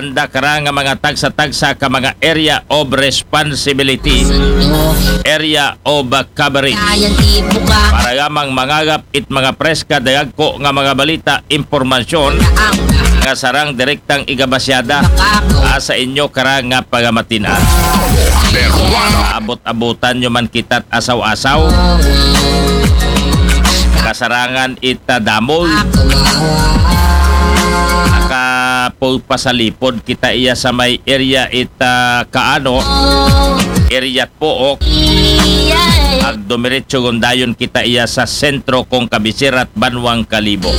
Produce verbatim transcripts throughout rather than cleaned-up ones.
Anda kara nga mga tagsa-tagsa ka mga area of responsibility, area of coverage. Kayang ibuka. Para lamang mangagap it mga preska dagko nga mga balita, impormasyon nga sarang direktang igabasyada, ah, sa inyo kara nga pagamatin-an. Abot-abotan nyo man kita't asaw-asaw. Kasarangan ita damol. Nakapapasalipod kita iya sa may area ita kaano, area Pook. Ag dumiretso gundayon kita iya sa sentro kong kabisira't banwang Kalibo.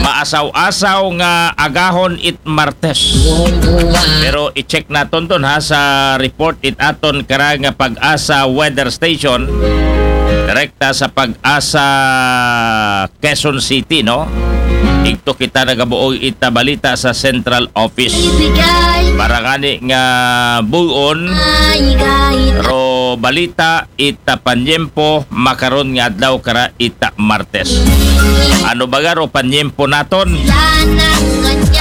Maasaw-asaw nga agahon it Martes. Pero i-check naton dun ha sa report it aton kara nga Pag-asa Weather Station. Direkta sa Pag-asa Quezon City, no? Igto kita nagabuog ita balita sa Central Office. Para ngani nga buon, ro balita ita panyempo makaron nga adlaw kara ita Martes. Ano baga ro panyempo naton?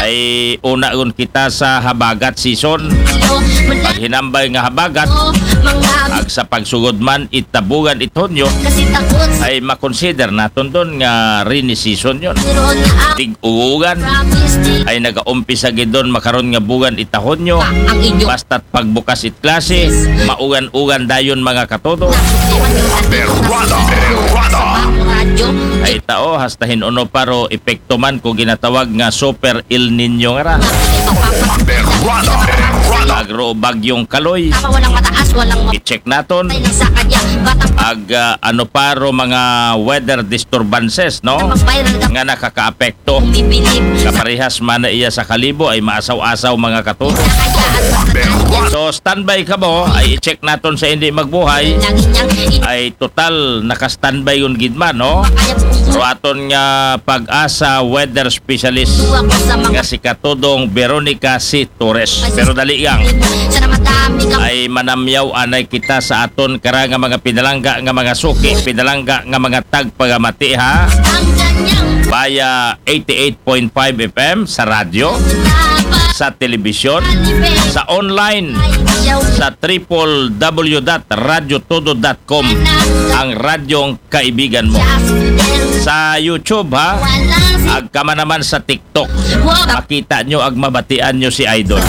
Ay una gun kita sa habagat season. Paghinambay nga habagat, ag sa pagsugod man ita bugan it Hunyo, ay makonsider naton dun nga rainy season yon. Tig-ugan ay nagaumpisa gid dun makaron nga bugan ita Hunyo. Basta't pagbukas it klase, maugan-ugan dayon mga katodo. Berwada, berwada. Ay tao, hasta hin-uno pa ro epekto man ko ginatawag nga Super El Nino nga ra. Berwada, berwada. Agro bagyong Kaloy. Tama, walang mataas, walang ma- I-check naton. Ay, nasa kanya. Batang Ag ah, ano pa ro mga weather disturbances, no? Magviral ka. Nga nakakaapekto. Bibilib. Kaparehas man na iya sa Kalibo ay maasaw-asaw mga katodo. Kaya at basta So standby kamo, ay i-check naton sa hindi magbuhay. Lagi niyang in- Ay total naka-standby yun gid man, no? Kaya po. So aton nga Pag-asa weather specialist Tuwa ko sa mga nga si Katodong Veronica C. Torres. Pero dali lang. Sana madami ka Ay manamyaw anay kita sa aton kara nga mga pinalangga nga mga suki, pinalangga nga mga tagpagamati ha. Ang ganyang Via eighty-eight point five F M sa radyo, sa telebisyon, sa online, sa triple W dot radyo todo dot com, ang radyong kaibigan mo. Sa YouTube, ha? Ag kama naman sa TikTok. Makita nyo ag mabatian nyo si Idol.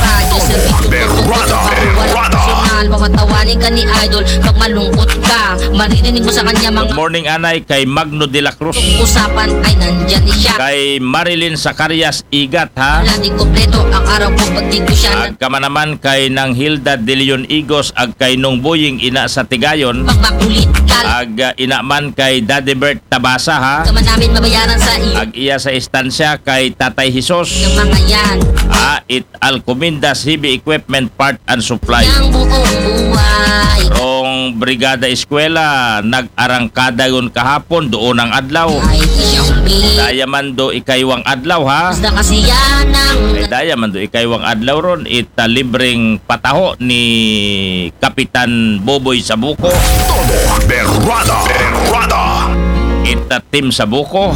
Berwada, berwada. Personal, mamatawani ka ni Idol. Pag malungkot ka, maririnig mo sa kanya mga Good morning, anay, kay Magno de la Cruz. Usapan ay nandyan siya. Kay Marilyn Zacarias Igat, ha? Wala di kompleto ang araw ko pag di ko siya Ag kama naman kay Nang Hilda de Leon Igos, ag kay Nung Boying ina sa Tigayon. Pagbakulit ka. Ag ah, ina man kay Daddy Bert Tabasa, ha? Ka man namin mabayaran sa iyo. Ag iya sa istansya kay Tatay Jesus. Ng mga yan. Ah, it Alcomindas Heavy Equipment Part and Supply. Ang buong buhay. Rong Brigada Eskwela, nag-arangkada yun kahapon, doon ang adlaw. Ay, isang big. Daya man do ikaywang adlaw, ha? Basta kasi yan ang Ay, daya man do ikaywang adlaw ron, ita libreng pataho ni Kapitan Boboy Sabuko. Todo berwada, berwada. Ita Team Sabuko.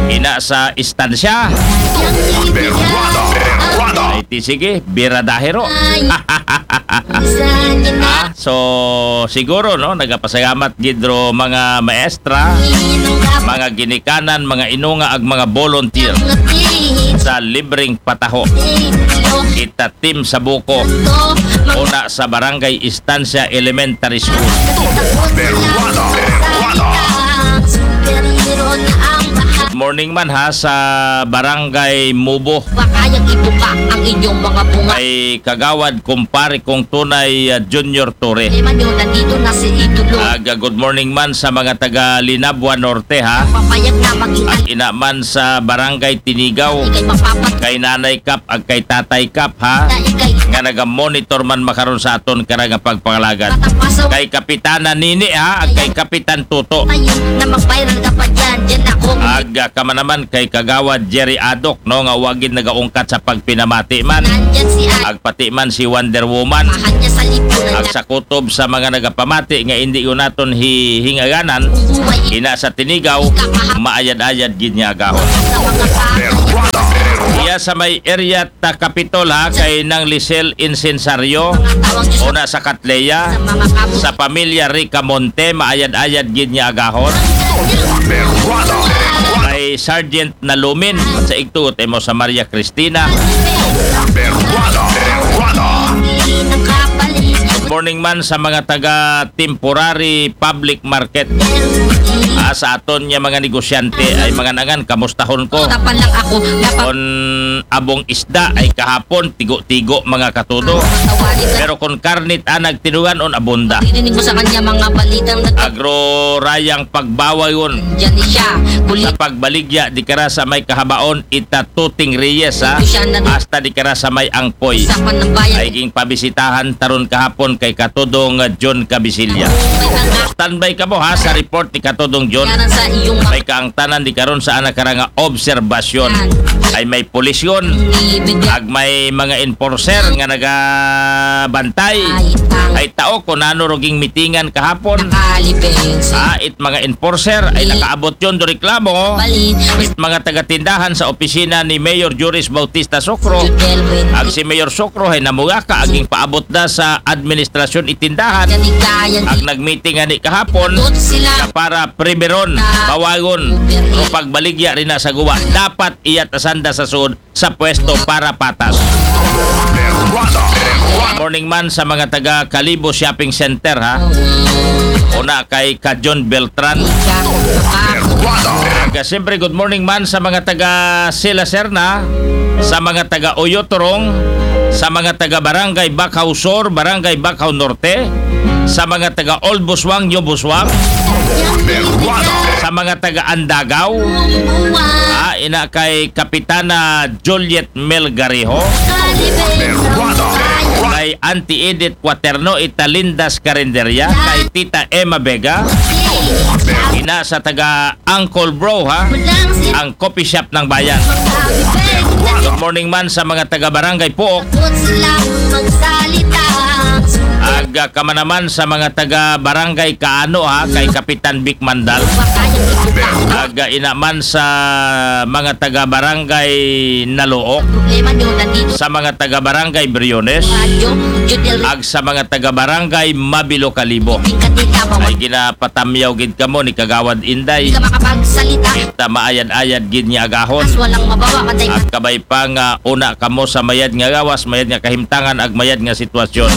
Ina sa istansya. Berwada, berwada. Ay, ti sige, biradahe ro. Ah, so, siguro, no, nagapasalamat gid ro mga maestra, mga ginikanan, mga inunga, ag mga volunteer sa libreng pataho. Ita Team Sabuko, una sa Barangay Estancia Elementary School. Berwada, berwada. Good morning man ha sa Barangay Mubo. Pakayang ibuka ang inyong mga bunga. Kay Kagawad, kumpare kong tunay, ah, Junior Torre. Problema nyo, nandito na si Idolo. Aga, good morning man sa mga taga Linabua Norte, ha? Papayag na maging At ina man sa Barangay Tinigaw. Ikay mapapat- Kay Nanay Kap, ag kay Tatay Kap, ha? Na ikay Nga naga-monitor man makaron sa aton kara nga pagpangalagad. Matapasaw- Kay Kapitana Nini, ha? Ag kay Kapitan Tuto. Ayun, na mag-viral ka pa dyan. Dyan ako. Ag, ah, kama naman kay Kagawad Jerry Adok, no? Nga wagid nagaungkat sa pagpinamati man. Nandyan si Ay. Ag pati man si Wonder Woman. Mahal niya sa lipunan Ag na sa kutob sa mga nagapamati nga indi ko naton hi-, hingaganan, Buhay. Ina sa Tinigaw, Ika maha- maayad-ayad gid nga agahon. Sa mga pa- Berwada, berwada. Di Sa may area ta Capitol ha, kay Nang Lisel Incensario, una sa Katleya, sa pamilya Ricamonte, maayad-ayad gid nga agahon. Kay Sergeant Nalumin, sa igtuot mo sa Maria Cristina. Good morning man sa mga taga temporary public market. Ah, sa aton nga mga negosyante ay mga nangan, kamustahon ko. Tapan lang ako. Dapat kon abong isda ay kahapon, tigo-tigo mga katudo. Pero kon karnit anag tinugan on abunda. Dirinig mo sa kanya mga balitang nag- Agro rayang pagbawayon. Diyan ni siya. Sa pagbaligya, di kara sa may kahabaon, ita Tuting Reyes, ha? Siya na- Hasta di kara sa may angpoy. Sa panambayan. Ay ging pabisitahan taron kahapon kay Katudong, uh, John Cabisilya. Standby ka mo, ha, sa report ni Katudong John. May kaangtanan di karon sa anak karanga obserbasyon. Ay may pulisyon. Ag may mga enforcer nga nagabantay. Ay tao ko nano ruging mitingan kahapon. Ah, it mga enforcer ay nakaabot yon do reklamo. It mga tagatindahan sa opisina ni Mayor Juris Bautista Socro. Ag si Mayor Socro ay namugaka aging paabot da sa administrasyon itindahan. Ag nagmeeting ani kahapon na para primeron, bawagon, o pagbaligya rin na sa guwa. Dapat iyat asanda sa sud sa pwesto para patas. Morning man sa mga taga Kalibo Shopping Center, ha. Una kay Kajon Beltran. Aga, siyempre, good morning man sa mga taga Sila Serna, sa mga taga Oyotorong, sa mga taga Barangay Bacau Sur, Barangay Bacau Norte, sa mga taga Old Buswang, New Buswang, sa mga taga Andagaw, ah, ina kay Kapitana Juliet Melgarejo, kay Auntie Edith Quaterno, ita Lindas Carinderia, kay Tita Emma Vega, ina sa taga Uncle Bro, ha? Ang coffee shop ng bayan. Good morning man sa mga taga Barangay Puok. Ag, ah, kamanaman sa mga taga Barangay Kaano, ha, kay Kapitan Vic Mandal. Ag, ah, inaman sa mga taga Barangay Nalook, sa mga taga Barangay Briones, ag sa mga taga Barangay Mabilo Kalibo. Ay ginapatamyaw gid kamo ni Kagawad Inday. Kita maayad-ayad gid nga agahon. Ag kabay pa nga una kamo sa mayad nga gawas, mayad nga kahimtangan, ag mayad nga sitwasyon.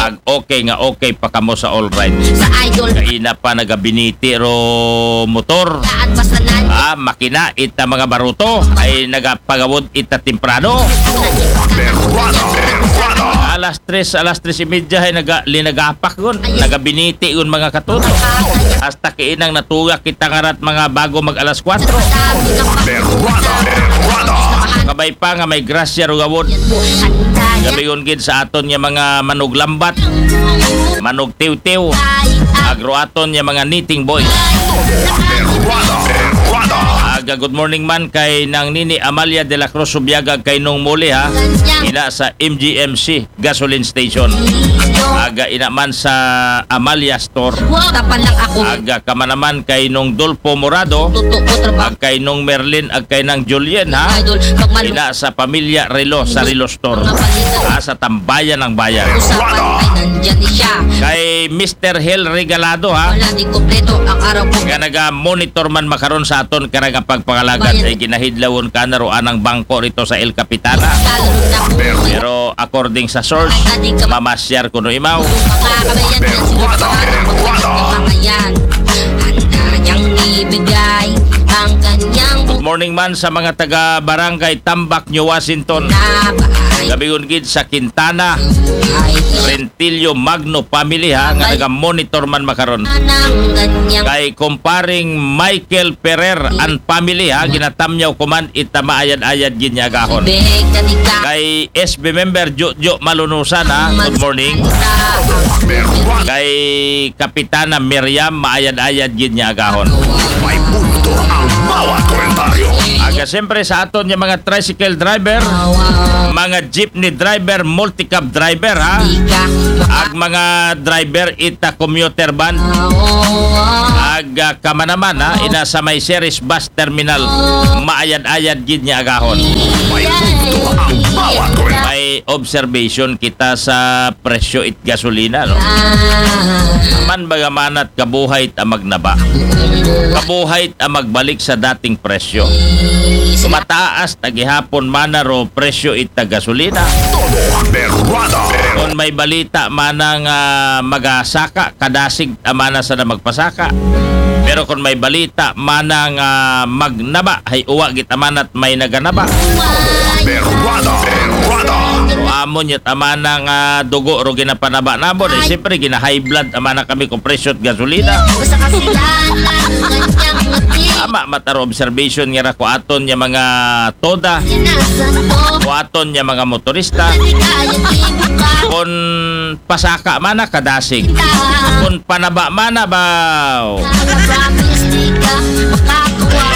Ag okay nga okay pa kamo sa all right. Sa idol. Kaina pa nagabiniti ro motor. Ah, makina, ita mga baruto ay nagapagawod ita temprano. Alas tres, alas tres y media ay naga-, linagapak gun. Nagabiniti gun mga katuto. Hasta kiinang natugak kita ngarat mga bago mag alas kwatro. Kabay pa nga may grasya ro gawod. Gabigon gid sa aton nga mga manuglambat, manugtiwtiw, agro aton nga mga knitting boy. Aga, good morning man kay Nang Nini Amalia de la Cruz Subiaga kay Nung Muli, ha. Ina sa M G M C gasoline station. Aga, ina man sa Amalia Store. Tapan lang ako. Aga, kamanaman kay Nung Dolpo Morado. Totoo, trabaho. Ag kay Nung Merlin, ag kay Nang Julien, ha. Idol, pag malu- Ina sa pamilya Relo, sa Relo Store. Mga balita. Ah, sa Tambayan ng Bayan. Usapan ay nandyan siya. Kay Mister Hel Regalado, ha. Wala di kompleto ang araw ko. Nga naga-monitor man makaron sa aton karang pagpangalagad. Bayan. Ay ginahidlawon ka na ro anang bangko rito sa El Capitana. Lalo na po. Pero according sa source, mamasyar kuno imaw. Mga kabayan, yan siguro sa mga kabayan. Handa niyang ibigay ang kanyang Good morning man sa mga taga Barangay Tambak, New Washington. Gabigon gid sa Quintana, Rentillo Magno family, ha, nga naga-monitor man makaron. Kay kumparing Michael Ferrer and family, ha, ginatamyaw ko man ita maayad-ayad gid nga agahon. Kay S B member Jojo Malunusan, ha, good morning. Kay Kapitana Miriam, maayad-ayad gid nga agahon. May punto ang bawat komentaryo. Ag Siyempre sa aton nga mga tricycle driver, mga jeepney driver, multicab driver ha, ag mga driver ita commuter van, ag ah, kamanaman ha, ina sa may Ceres bus terminal, maayad-ayad gid nga agahon. May punto ang bawat kwento. May observation kita sa presyo it gasolina, no? Man baga manat kabuhay ta magnaba. Kabuhay ta magbalik sa dating presyo. Mataas ta gihapon mana ro presyo it gasolina. Todo berwada. Kung may balita manang ah, magasaka, kadasig amana sa na magpasaka. Pero kung may balita manang ah, magnaba, hay uwa git amanat may naganaba. Berwada. Berwada. So, amo niya tama nga dugo ro ginapanaba namo. Eh, siyempre, gina-high blood amana kami kung presyo at gasolina. Tama, mataro observation nga ra ko aton nga mga toda. Ko aton nga mga motorista. Kung pasaka mana kadasig. Kung panaba mana baw.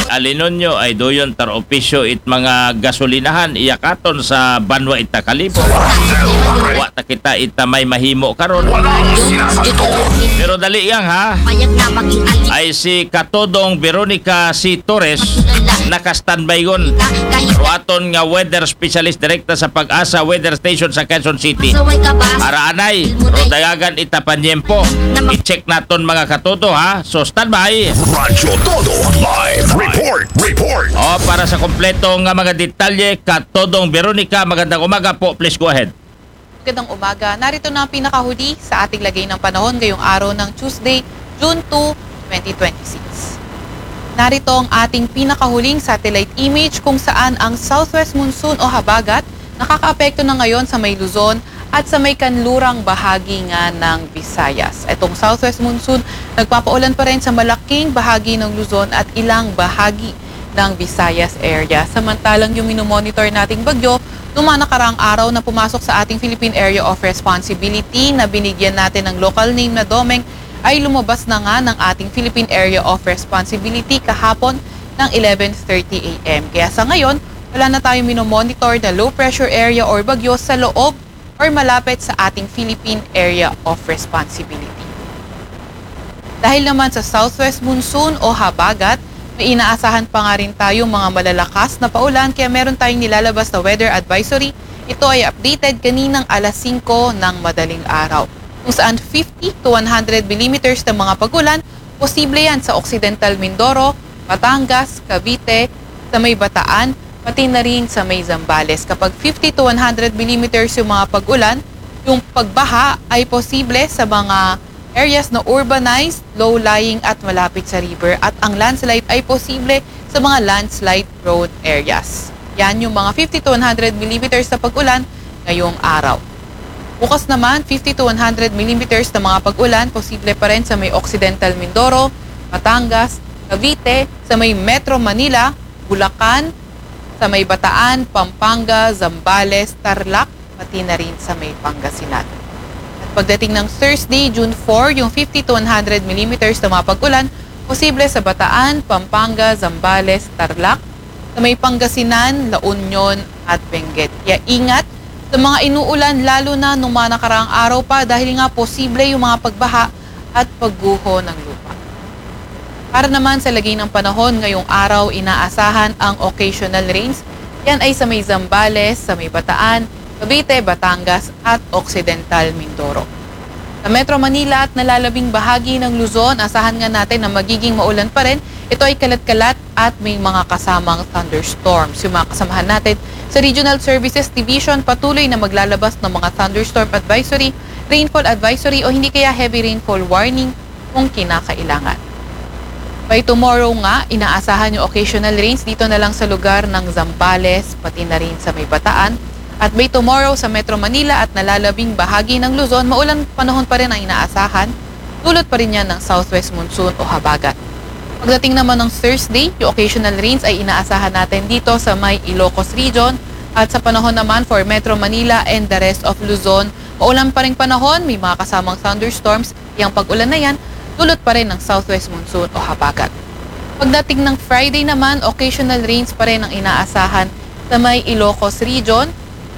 Alinon nyo ay doyon tar opisyo it mga gasolinahan iyakaton sa banwa ita kalibo. Wa ta kita ita may mahimo karon. Pero dali yang ha. Ay si Katodong Veronica C. Torres naka-standby gon. Ro aton nga weather specialist direkta sa Pag-asa Weather Station sa Quezon City. Araanay, ro dayagan ita panyempo. I-check naton mga katodo ha. So standby. Radyo Todo Live Report. Report. O, para sa kompleto nga mga detalye, Katodong Veronica, magandang umaga po. Please go ahead. Magandang umaga. Narito na ang pinakahuli sa ating lagay ng panahon ngayong araw ng Tuesday, June two, twenty twenty-six. Narito ang ating pinakahuling satellite image kung saan ang southwest monsoon o habagat nakakaapekto na ngayon sa may Luzon at sa may kanlurang bahagi nga ng Visayas. Itong southwest monsoon nagpapaulan pa rin sa malaking bahagi ng Luzon at ilang bahagi ng Visayas area. Samantalang yung minomonitor nating bagyo, nung mga nakaraang araw na pumasok sa ating Philippine Area of Responsibility na binigyan natin ng local name na Domeng ay lumabas na nga ng ating Philippine Area of Responsibility kahapon ng eleven thirty a.m. Kaya sa ngayon, wala na tayong minomonitor na low pressure area or bagyo sa loob or malapit sa ating Philippine Area of Responsibility. Dahil naman sa southwest monsoon o habagat, may inaasahan pa nga rin tayong mga malalakas na paulan kaya meron tayong nilalabas na weather advisory. Ito ay updated kaninang alas singko ng madaling araw, kung saan fifty to one hundred millimeters ng mga pag-ulan posible yan sa Occidental Mindoro, Batangas, Cavite, sa may Bataan, pati na rin sa may Zambales. Kapag fifty to one hundred millimeters yung mga pag-ulan, yung pagbaha ay posible sa mga areas na urbanized, low-lying at malapit sa river, at ang landslide ay posible sa mga landslide-prone areas. Yan yung mga fifty to one hundred millimeters na pag-ulan ngayong araw. Bukas naman, fifty to one hundred millimeters na mga pag-ulan posible pa rin sa may Occidental Mindoro, Batangas, Cavite, sa may Metro Manila, Bulacan, sa may Bataan, Pampanga, Zambales, Tarlac, pati na rin sa may Pangasinan. At pagdating ng Thursday, June four, yung fifty to one hundred millimeters na mga pag-ulan posible sa Bataan, Pampanga, Zambales, Tarlac, sa may Pangasinan, La Union at Benguet. Kaya ingat sa mga inuulan, lalo na nung mga nakaraang araw pa, dahil nga posible yung mga pagbaha at pagguho ng lupa. Para naman sa lagay ng panahon ngayong araw, inaasahan ang occasional rains. Yan ay sa may Zambales, sa may Bataan, Cavite, Batangas at Occidental Mindoro. Sa Metro Manila at nalalabing bahagi ng Luzon, asahan nga natin na magiging maulan pa rin. Ito ay kalat-kalat at may mga kasamang thunderstorms. Yung mga kasamahan natin sa Regional Services Division, patuloy na maglalabas ng mga thunderstorm advisory, rainfall advisory o hindi kaya heavy rainfall warning kung kinakailangan. By tomorrow nga, inaasahan yung occasional rains dito na lang sa lugar ng Zambales, pati na rin sa may Bataan. At by tomorrow sa Metro Manila at nalalabing bahagi ng Luzon, maulan panahon pa rin ang inaasahan. Dulot pa rin yan ng southwest monsoon o habagat. Pagdating naman ng Thursday, yung occasional rains ay inaasahan natin dito sa may Ilocos Region. At sa panahon naman for Metro Manila and the rest of Luzon, maulan pa rin panahon, may mga kasamang thunderstorms. Yung pag-ulan na yan, dulot pa rin ng southwest monsoon o habagat. Pagdating ng Friday naman, occasional rains pa rin ang inaasahan sa may Ilocos Region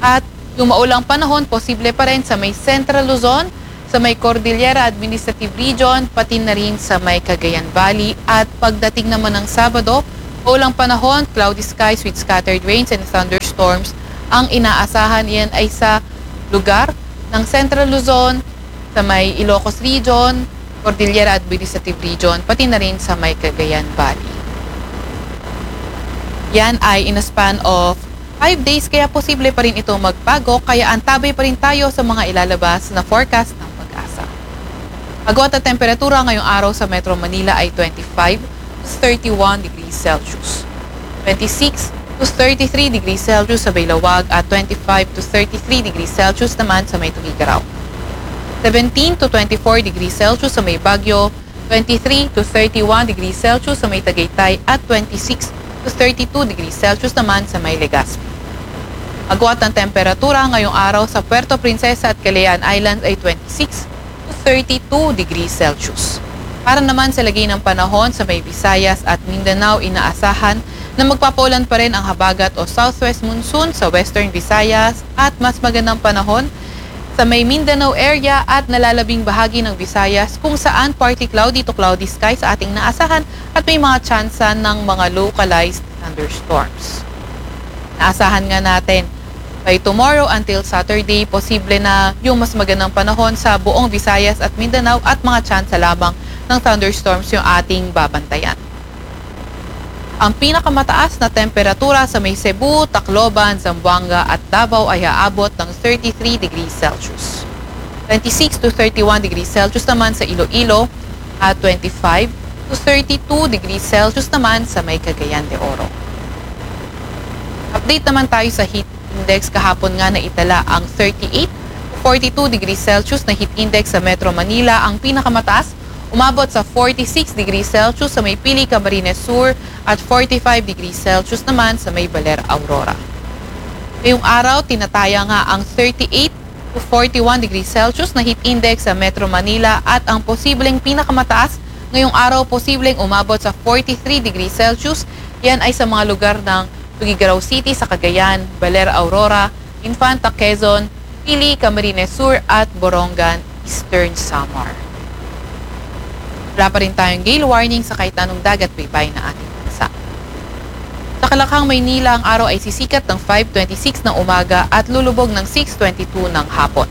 at yung maulang panahon posible pa rin sa may Central Luzon, sa may Cordillera Administrative Region, pati na rin sa may Cagayan Valley. At pagdating naman ng Sabado, maulang panahon, cloudy skies with scattered rains and thunderstorms ang inaasahan. Yan ay sa lugar ng Central Luzon, sa may Ilocos Region, Cordillera Administrative Region, pati na rin sa may Cagayan Valley. Yan ay in a span of five days, kaya posible pa rin ito magbago, kaya antabay pa rin tayo sa mga ilalabas na forecast ng PAGASA. Agwat at temperatura ngayong araw sa Metro Manila ay twenty-five to thirty-one degrees Celsius. Twenty-six to thirty-three degrees Celsius sa may Laoag at twenty-five to thirty-three degrees Celsius naman sa may Tuguegarao. Seventeen to twenty-four degrees Celsius sa may Baguio, twenty-three to thirty-one degrees Celsius sa may Tagaytay at twenty-six to thirty-two degrees Celsius naman sa may Legazpi. Agwat ng temperatura ngayong araw sa Puerto Princesa at Kalayaan Islands ay twenty-six to thirty-two degrees Celsius. Para naman sa lagay ng panahon sa may Visayas at Mindanao, inaasahan na magpapaulan pa rin ang habagat o southwest monsoon sa Western Visayas at mas magandang panahon sa may Mindanao area at nalalabing bahagi ng Visayas, kung saan partly cloudy to cloudy skies ating naasahan at may mga tsansa ng mga localized thunderstorms. Naasahan nga natin, by tomorrow until Saturday, posible na yung mas magandang panahon sa buong Visayas at Mindanao at mga tsansa lamang ng thunderstorms yung ating babantayan. Ang pinakamataas na temperatura sa may Cebu, Tacloban, Zamboanga at Davao ay aabot ng thirty-three degrees Celsius. Twenty-six to thirty-one degrees Celsius naman sa Iloilo at twenty-five to thirty-two degrees Celsius naman sa may Cagayan de Oro. Update naman tayo sa heat index. Kahapon nga naitala ang thirty-eight to forty-two degrees Celsius na heat index sa Metro Manila. Ang pinakamataas, umabot sa forty-six degrees Celsius sa may Pili, Camarines Sur at forty-five degrees Celsius naman sa may Baler, Aurora. Ngayong araw, tinataya nga ang thirty-eight to forty-one degrees Celsius na heat index sa Metro Manila at ang posibleng pinakamataas ngayong araw, posibleng umabot sa forty-three degrees Celsius. Yan ay sa mga lugar ng Tuguegarao City sa Cagayan, Baler, Aurora, Infanta, Quezon, Pili, Camarines Sur at Borongan, Eastern Samar. Wala pa rin tayong gale warning sa kahit anong dagat baybay na ating bansa. Sa Kalakhang, Maynila, ang araw ay sisikat ng five twenty-six ng umaga at lulubog ng six twenty-two ng hapon.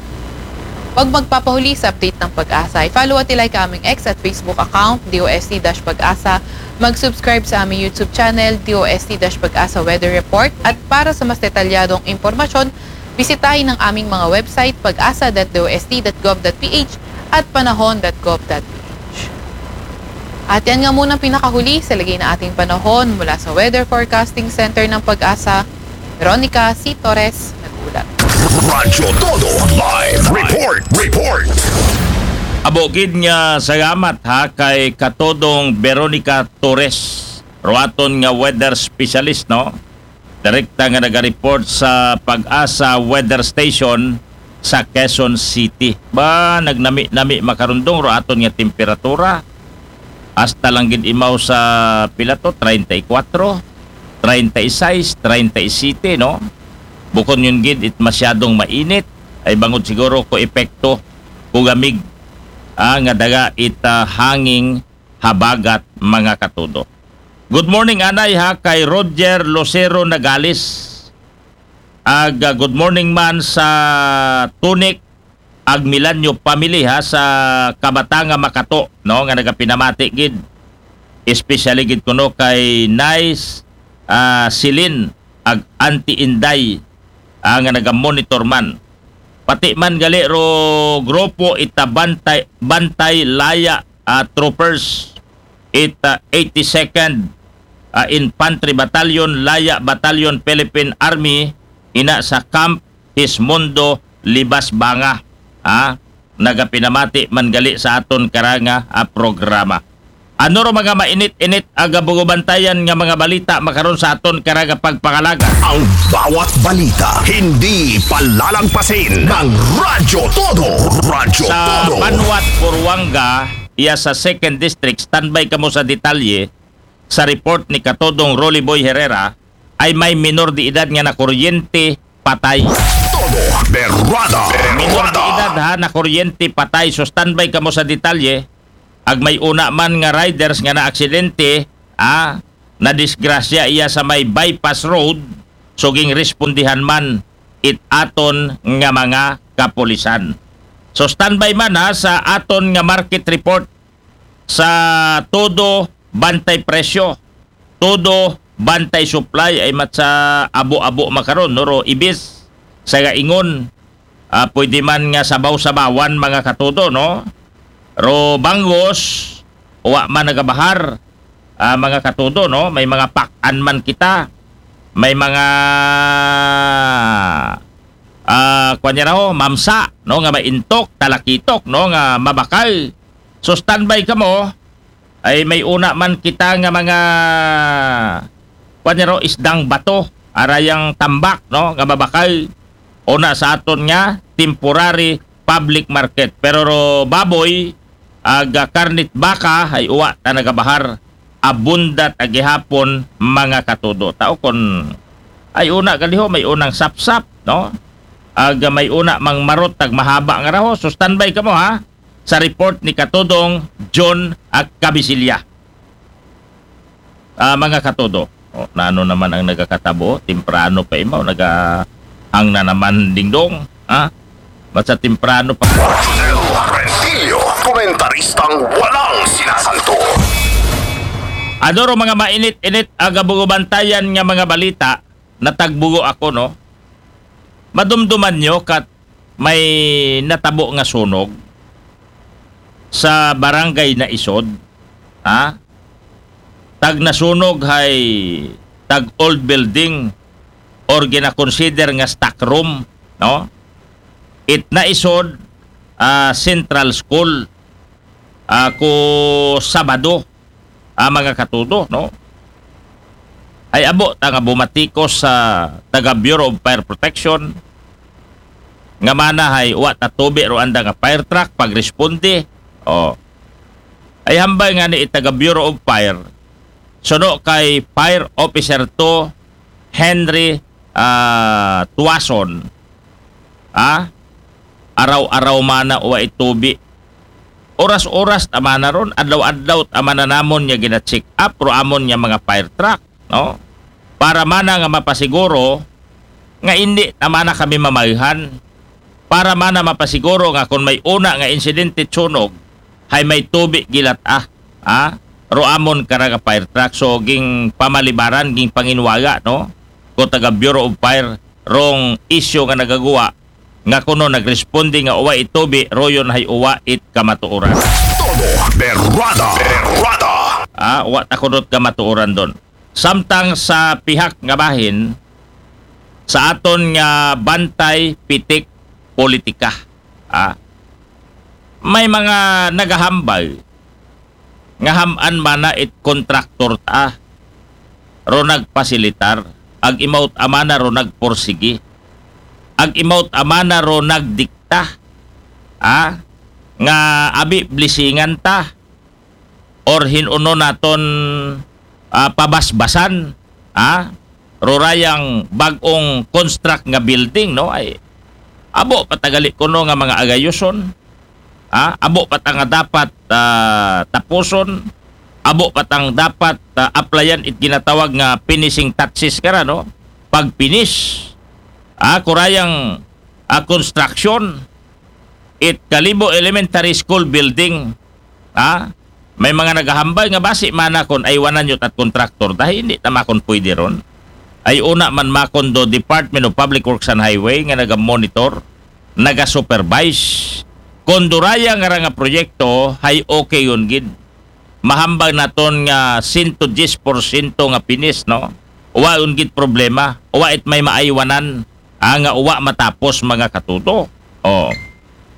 Huwag magpapahuli sa update ng PAGASA. I-follow at i-like ang aming X at Facebook account, D O S T dash PAGASA. Mag-subscribe sa aming YouTube channel, D O S T dash PAGASA Weather Report. At para sa mas detalyadong impormasyon, bisitahin ang aming mga website, pagasa dot D O S T dot gov dot P H at panahon dot gov dot P H. At yan nga muna ang pinakahuli sa lagay na ating panahon mula sa Weather Forecasting Center ng PAGASA. Veronica C. Torres, nag-uulat. Radyo Todo Live Report. Report. Abo gid nga salamat ha kay Katodong Veronica Torres, ro aton nga weather specialist, no? Direkta nga naga-report sa PAGASA Weather Station sa Quezon City. Ba, nagnami-nami makarundong ro aton nga temperatura. Hasta lang gid imaw sa pila to, treinta y cuatro, treinta y seis, treinta y siete, no? Bukon yun gid it masyadong mainit, ay bangod siguro ko epekto ko gamig, ah, nga daga it, ah, hanging habagat, mga katudo. Good morning, anay, ha, kay Roger Lucero Nagales. Ag, ah, good morning man sa Tunik ag Milanyo family, ha, sa Kabatanga Makato, no, nga nagapinamati gid. Especially gid kuno kay Nice, ah, Silin ag Auntie Inday, ah, nga naga-monitor man. Pati man gali ro grupo ita Bantay, Bantay Laya, ah, Troopers, ita eighty-second, ah, Infantry Battalion, Laya Battalion, Philippine Army, ina sa Camp Hismundo, Libas, Banga. Ha? Nagapinamati man gali sa aton karanga, ah, programa. Ano ro mga mainit-init aga bugubantayan nga mga balita makaron sa aton karanga pagpangalaga? Ang bawat balita hindi palalangpasin ng Radyo Todo. Radyo Sa Todo. Banwat, Buruanga, iya sa Second District, standby kamo sa detalye. sa report ni Katudong Rolly Boy Herrera, ay may minor de edad nga nakuryente patay. Todo berrada. Minor de Berrada. Edad ha, nakuryente patay. So standby kamo sa detalye. Ag may una man nga riders nga naaksidente, ah, nadisgrasya iya sa may bypass road, so gingrespondihan man it aton nga mga kapulisan. So standby man ha sa aton nga market report sa todo bantay presyo, todo bantay supply ay mat sa abo-abo makaron, no? Ro ibis sa gaingon, ah, pwede man nga sabaw-sabawan, mga katudo, no? Ro bangus, wa man nagabahar, ah, mga katudo, no? May mga pakan man kita, may mga ah, kwan niya raho, mamsa, no, nga maintok, talakitok, no, nga mabakal. So standby kamo, ay may una man kita nga mga, kwan niya raho, isdang bato, arayang tambak, no, nga mabakal. Una sa aton nga temporary public market. Pero ro baboy, ag karnit baka, ay uwa ta nagabahar, abundat ag gihapon, mga katudo. Tao kon ay una galiho, may unang sapsap, no? Ag may una mang marot ag mahaba nga raho. So standby kamo ha sa report ni Katudong John ag Kabisilya. Ah, mga katudo. O, nano naman ang nagakatabo? Temprano pa imaw, naga ang na naman dingdong, ha? Basta temprano pa. Rentillo, komentaristang walang sinasanto. Adoro mga mainit-init agabugubantayan nga mga balita, natagbugo ako, no? Madumduman nyo kat may natabo nga sunog sa barangay Naisod, ha? Tag nasunog hay tag old building or ginakonsider nga stock room, no? It Naisod, ah, Central School, ah, ko Sabado, ah, mga katudo, no? Ay abo ta nga bumatikos sa taga Bureau of Fire Protection nga mana hay wa ta tubi ro anda nga fire truck pagresponde. Oh. Ay hambal nga ni taga Bureau of Fire, suno kay Fire Officer two Henry, ah, Tuason, ah, araw-araw mana wa itubi. Oras-oras ta mana ron, adlaw-adlaw ta mana namon nga gina-check up ro amon nga mga fire truck, no? Para mana nga mapasiguro nga indi ta mana kami mamayhan. Para mana mapasiguro nga kung may una nga insidente sunog, hay may tubi gilat ah, ah, ro amon karaga fire truck. So ging pamalibaran, ging panginwaga, no? Ko taga Bureau of Fire rong isyu nga nagaguwa nga kuno nagresponde nga uwa itubi, royon hay uwa it kamatuoran. Todo berrada. Berrada. Ah, wa ta kunot kamatuoran don. Samtang sa pihak nga bahin, sa aton nga bantay pitik politika, ah, may mga nagahambal nga ham-an mana it kontraktor ta ro nagpasilitar, ag imaw ta mana ro nagporsigi, ag imaw ta mana ro nagdikta, ah, nga abi blisingan ta or hin-uno naton, ah, pabasbasan, ah, rurayang bag-ong construct nga building, no? Ay abo pa ta gali kuno nga mga agayuson, ah, abo pa ta nga dapat, ah, tapuson, abo pa ta nga dapat, ah, applyan it ginatawag nga finishing touches kara, no? Pag-finish, ah, kurayang, ah, construction it Kalibo Elementary School building, ah, may mga nagahambal nga basi mana kon aywanan yut at kontraktor dahil hindi ta makon pwede ron. Ay una man makon do Department of Public Works and Highway nga naga-monitor, naga-supervise. Kon duraya nga ra nga proyekto, hay okay yun gid. Mahambal naton nga sento diyes porsyento nga pinis, no? Wa yun gid problema. Wa it may maaywanan, ah, nga uwa matapos, mga katuto. Oh.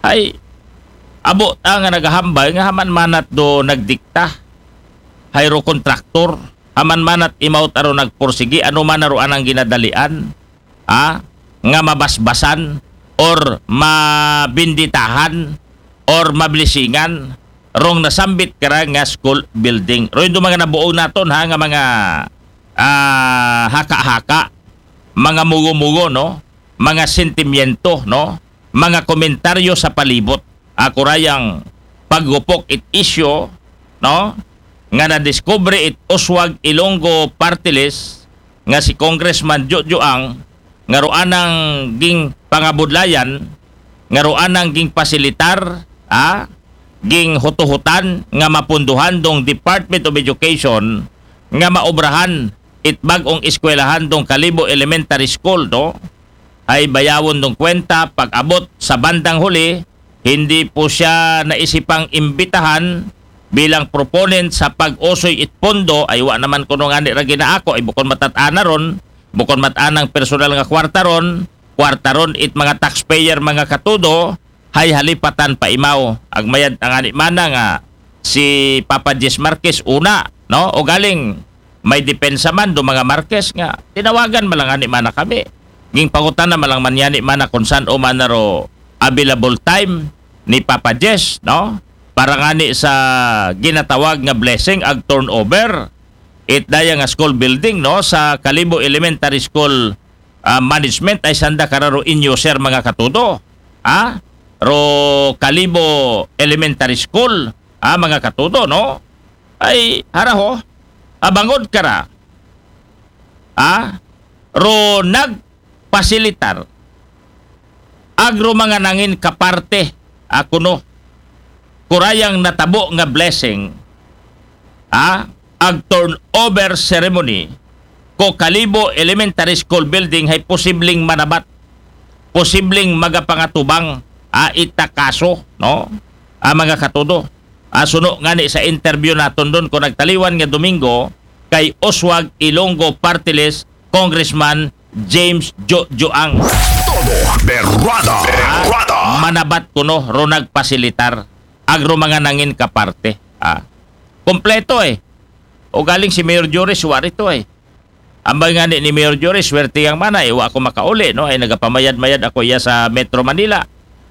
Hay abo ta nga nagahambal nga haman manat do nagdikta, hay ro kontraktor, haman manat imaw ta ro nagporsigi, ano man na ro anang ginadalian, ah, nga mabasbasan or mabinditahan or mablisingan rong nasambit kara nga school building. Ro indo mga nabuo naton ha nga mga ah, haka-haka, mga mugo-mugo, no? Mga sentimiento, no? Mga komentaryo sa palibot. Ako rayang paggupok it isyu, no? Nga nadiskubre it Uswag Ilonggo Party List nga si Congressman Jojo Ang nga ruanang ging pangabudlayan, nga ruanang ging pasilitar, ah, ging hutuhutan nga mapunduhan dong Department of Education nga maobrahan it bag-ong eskwelahan dong Kalibo Elementary School, no? Ay bayawon dong kwenta, pag-abot sa bandang huli, hindi po siya naisipang imbitahan bilang proponent sa pag-usoy it pondo, ay wa naman kuno ngani ra ginaako, ay bukon matat-ana ron, bukon mat-anang personal nga kwarta ron, kwarta ron it mga taxpayer, mga katudo, hay halipatan pa imaw. Agmayad ang ani mana nga si Papa Jess Marquez una, no? O galing may depensa man do mga Marquez nga tinawagan man lang ani mana kami. Ging pangutan na man lang man yani mana kung saan o man na ro available time ni Papa Jess, no? Para ngani sa ginatawag nga blessing ag turnover it daya nga school building, no, sa Kalibo Elementary School ah, management ay sanda kararo inyo, sir, mga katudo. Ha? Ro Kalibo Elementary School, ha, mga katudo, no? Ay haraho, abangod kara. Ha? Ro nagpasilitar agro mga nangin kaparte, ako no, kurayang natabo nga blessing, ha, ag turnover ceremony ko Kalibo Elementary School building hay posibleng manabat, posibleng magapangatubang, ah, ita kaso, no? Ah, mga katudo. Ah, suno ngani sa interview naton don ko nagtaliwan nga Domingo kay Oswag Ilonggo Party List Congressman James Jojoang. Todo berrada. Berrada. Manabat kuno ro nagpasilitar agro mga nangin kaparte. Ah. Kompleto eh. O galing si Mayor Joris, wari to eh. Ambay nga ni, ni Mayor Joris, swerte yang mana, eh, wa ako makauli, no? Ay nagapamayad-mayad ako iya sa Metro Manila.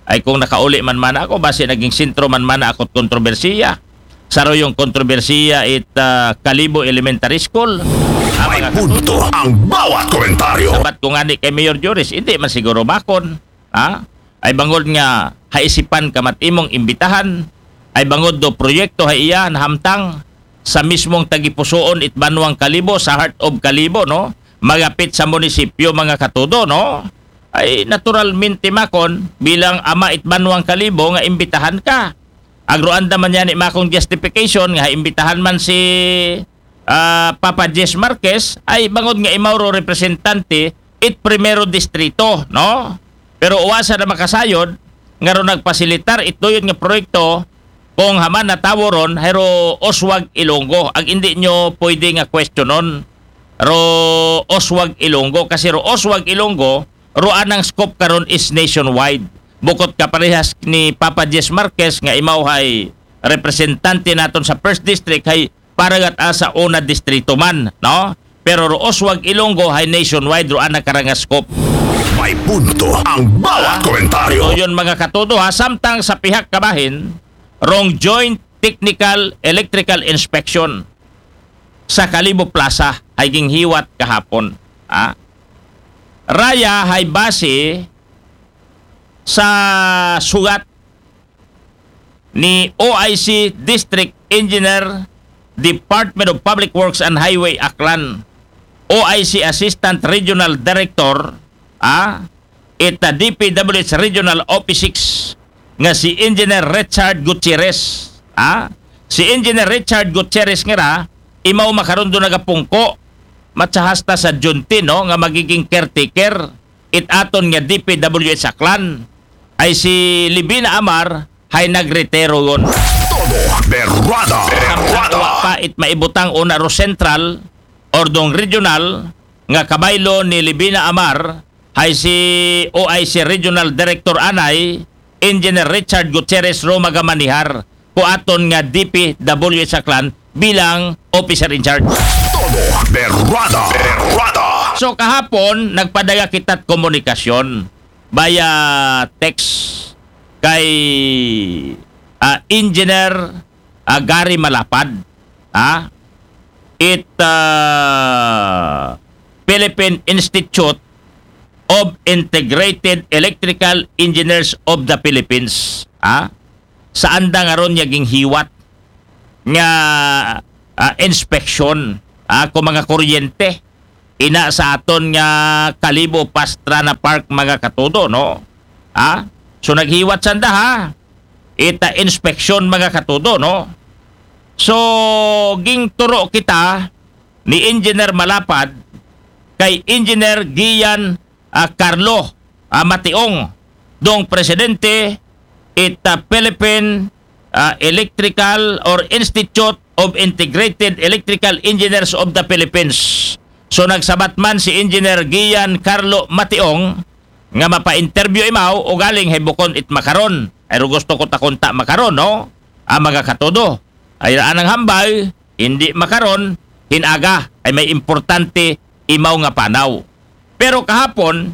Ay kung nakauli man mana ako, basi naging sentro man mana ako kontrobersiya. Saro yung kontrobersiya it ah, Kalibo Elementary School. Ah, may mga punto ang bawat komentaryo. Sabat ko nga ni kay Mayor Joris, hindi man siguro makon. Ha? Ay bangod nga haisipan ka mat imong imbitahan, ay bangod do proyekto ha iya nahamtang sa mismong tagipusoon it banwang Kalibo, sa heart of Kalibo, no? Magapit sa munisipyo, mga katudo, no? Ay naturalmente makon bilang ama it banwang Kalibo nga imbitahan ka. Agroanda man yan ni makong justification nga imbitahan man si ah, Papa Jess Marquez ay bangod nga imaw ro representante it primero distrito, no? Pero uwasa na makasayod nga ro nagpasilitar it doyot nga proyekto kung haman na tawo ron, hero Oswag Ilonggo. Ag hindi nyo pwede nga questionon ro Oswag Ilonggo kasi ro Oswag Ilonggo ro anang scope karon is nationwide. Bukod ka parehas ni Papa Jess Marquez nga imaw hay representante naton sa first district hay paragat asa una distrito man, no? Pero ro Oswag Ilonggo hay nationwide ro ana karanga scope. May punto ang bawat komentaryo. Ito yun mga katudo ha, samtang sa pihak kabahin, rong joint technical electrical inspection sa Kalibo Plaza hay ginghiwat kahapon. Ha? Raya hay base sa sugat ni O I C District Engineer, Department of Public Works and Highway, Aklan, O I C Assistant Regional Director, ah, ita D P W H Regional Office six nga si Engineer Richard Gutierrez, ah, si Engineer Richard Gutierrez nga ra, imaw makaron do nagapungko, matsahasta sa Junti, no, nga magiging caretaker it aton nga D P W H Aklan ay si Libina Amar hay nagretiro yon. Todo berrada. Samtang berrada. Wa pa it maibutang una ro central or dong regional nga kabaylo ni Libina Amar hay si O I C Regional Director anay Engineer Richard Gutierrez ro magamanihar ko aton nga D P W H Aklan bilang officer in charge. Todo berrada. Berrada. So kahapon nagpadaya kita't komunikasyon via text kay ah, Engineer ah, Gary Malapad, ah, it, ah, Philippine Institute of Integrated Electrical Engineers of the Philippines, ah, sa andang aron niya ginghiwat nga, ah, inspeksyon, ah, kung mga kuryente ina sa aton nga Kalibo Pastrana Park, mga katudo, no? Ha? So, naghiwat sanda, ha? Ita inspeksyon, mga katudo, no? So, gingturo kita ni Engineer Malapad kay Engineer Gian, ah, Carlo, ah, Mationg, dong presidente ita Philippine, ah, Electrical or Institute of Integrated Electrical Engineers of the Philippines. So, nagsabat man si Engineer Gian Carlo Mationg nga mapa-interview imaw o galing hay bukon it makaron. Ay, ro gusto ko takunta makaron, no? Ang mga katudo. Ay, raan ang hambal, hindi makaron, hinaga, ay may importante imaw nga panaw. Pero kahapon,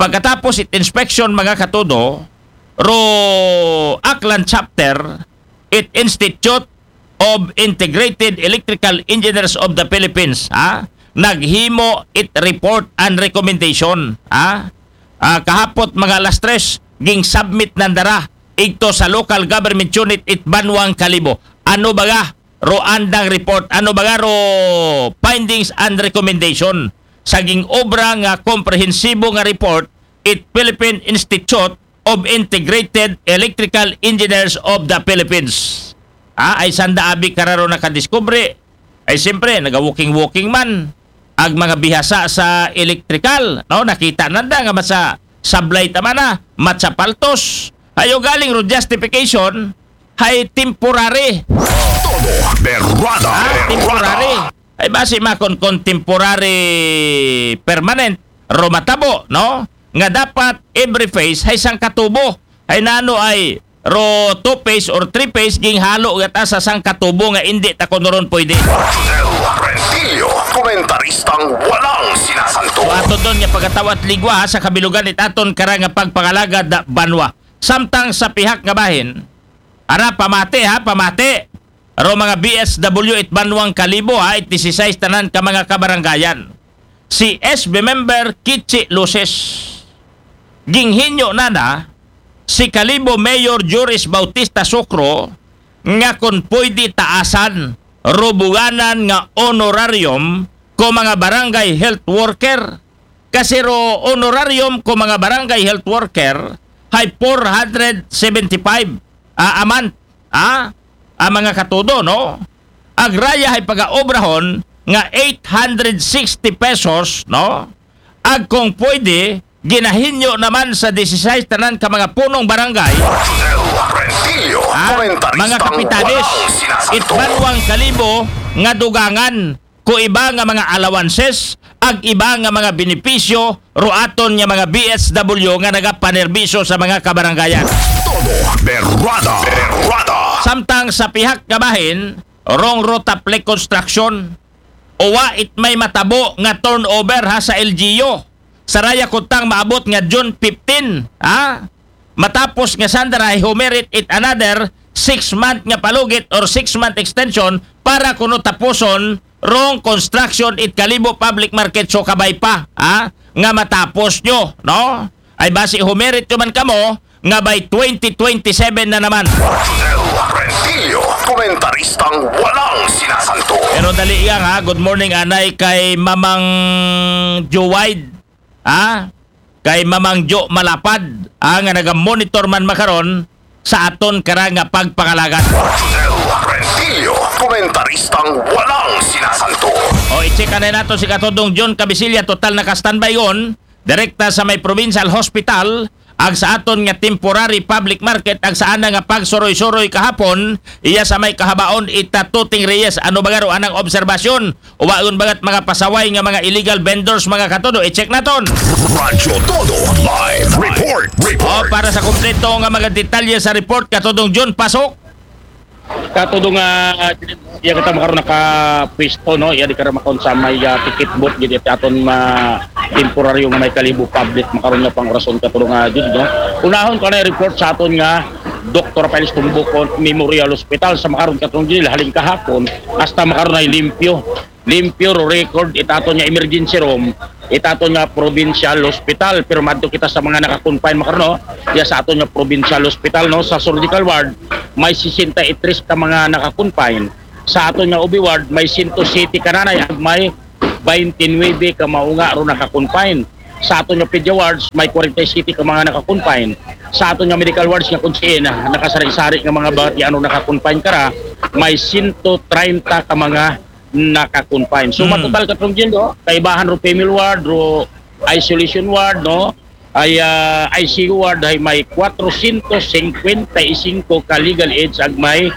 pagkatapos it inspection, mga katudo, ro Aklan Chapter, it Institute of Integrated Electrical Engineers of the Philippines, ha? Naghimo it report and recommendation, ha? Ah, kahapot mga alas tres, ging submit nandara igto sa local government unit it Banwang Kalibo. Ano baga ro andang report? Ano baga ro findings and recommendation sa ging obra nga komprehensibo nga report it Philippine Institute of Integrated Electrical Engineers of the Philippines? Ah, ay sanda abi kararo nakadiskubre. Ay siyempre, naga-walking-walking man ag mga bihasa sa electrical, no? Nakita nanda nga matsa sablay tama na, matsa paltos. Hayo galing ro justification, hay temporary. Todo berrada. Ah, temporary. Ay basi makon kon temporary permanent, ro matabo, no? Nga dapat every phase hay sangka tubo. Hay nano ay ro two phase or three phase ginghalo gata sa sangka tubo nga indi ta kuno ron pwede. Rodel Rentillo, komentaristang walang sinasanto. So ato doon nga pagkatawat ligwa ha, sa kabilugan it aton kara nga pagpangalagad na banwa. Samtang sa pihak nga bahin, ara pamati ha, pamati. Ro mga B S W it Banwang Kalibo ha, it disisais tanan ka mga kabarangayan. Si S B member Kichi Luces. Ginghinyo nana si Kalibo Mayor Juris Bautista Socro nga kon pwede taasan, rubuganan nga honorarium ko mga barangay health worker. Kasi ro honorarium ko mga barangay health worker hay four hundred seventy-five, ah, a month, ah, ang mga katudo, no? Agraya hay pagaobrahon nga eight hundred sixty pesos, no? Ag kung pwede, ginahinyo naman sa disisais tanan ka mga punong barangay, Rodel Rentillo, ha? Mga komentaristang kapitanes, walang sinasanto. It Banwang Kalibo nga dugangan ko iba nga mga allowances, ag iba nga mga benepisyo ro aton nga mga B S W nga nagapanerbisyo sa mga kabarangayan. Todo berrada. Berrada. Samtang sa pihak nga bahin, rong ro Taplec Construction, uwa it may matabo nga turnover ha sa L G U. Saraya kuntang maabot nga June fifteen, ha? Matapos nga sandara hay humirit it another six month nga palugit or six month extension para kuno tapuson rong construction it Kalibo Public Market, so kabay pa, ha? Nga matapos nyo, no? Ay basi humirit nyo man kamo nga by twenty twenty-seven na naman. Rodel Rentillo, komentaristang walang sinasanto. Pero dali yang ha, good morning anay kay Mamang Joe Wide, ha? Kay Mamang Jo Malapad, ha, nga naga-monitor man makaron sa aton kara nga pagpangalagad. Rodel Rentillo, komentaristang walang sinasanto. O, i-check anay nato si Katudong John Cabisilla, total naka-standby on, direkta sa may provincial hospital, ag sa aton nga temporary public market, ag sa ana nga pagsuroy-suroy kahapon, iya sa may kahabaon ita Tuting Reyes. Ano ba garo anang obserbasyon? Uwagon bagat mga pasaway nga mga illegal vendors, mga katudo? I-check naton. Radyo Todo Live Report. O, Report. Para sa kompleto nga mga detalye sa report, Katudong John, pasok. Katudo nga iya kita makaron nakapwesto, no, iya di kara makon sa may ah, ticket booth gid it aton ma temporaryo nga may Kalibo public makaron nga pang orason, Katudo nga Jud, no. Unahon ko na report sa aton nga Doktor Piles Tumbukon Memorial Hospital sa makaron, Katong Judel, halin kahapon, hasta makaron ay limpyo. Limpyo ro record it aton nga emergency room, it aton nga provincial hospital. Pero madto kita sa mga naka-confine makaron, no? Iya sa aton nga provincial hospital, no, sa surgical ward, may sesenta y tres ka mga naka-confine. Sa aton nga O B ward, may sento siyete ka nanay ag may baynte nuwebe ka maunga ro naka-confine. Sa aton nga pedia wards, may kwarenta y siyete ka mga naka-confine. Sa aton nga medical wards nga kung siin, ah, nakasari-sari nga mga batian ro naka-confine kara, may sento treinta ka mga naka-confine. So, Mm. matotal, Katong Judel, no? Kaibahan ro female ward, ro isolation ward, no? Ay, ah, I C U ward ay may kwatrosyentos singkwenta y singko ka legal age ag may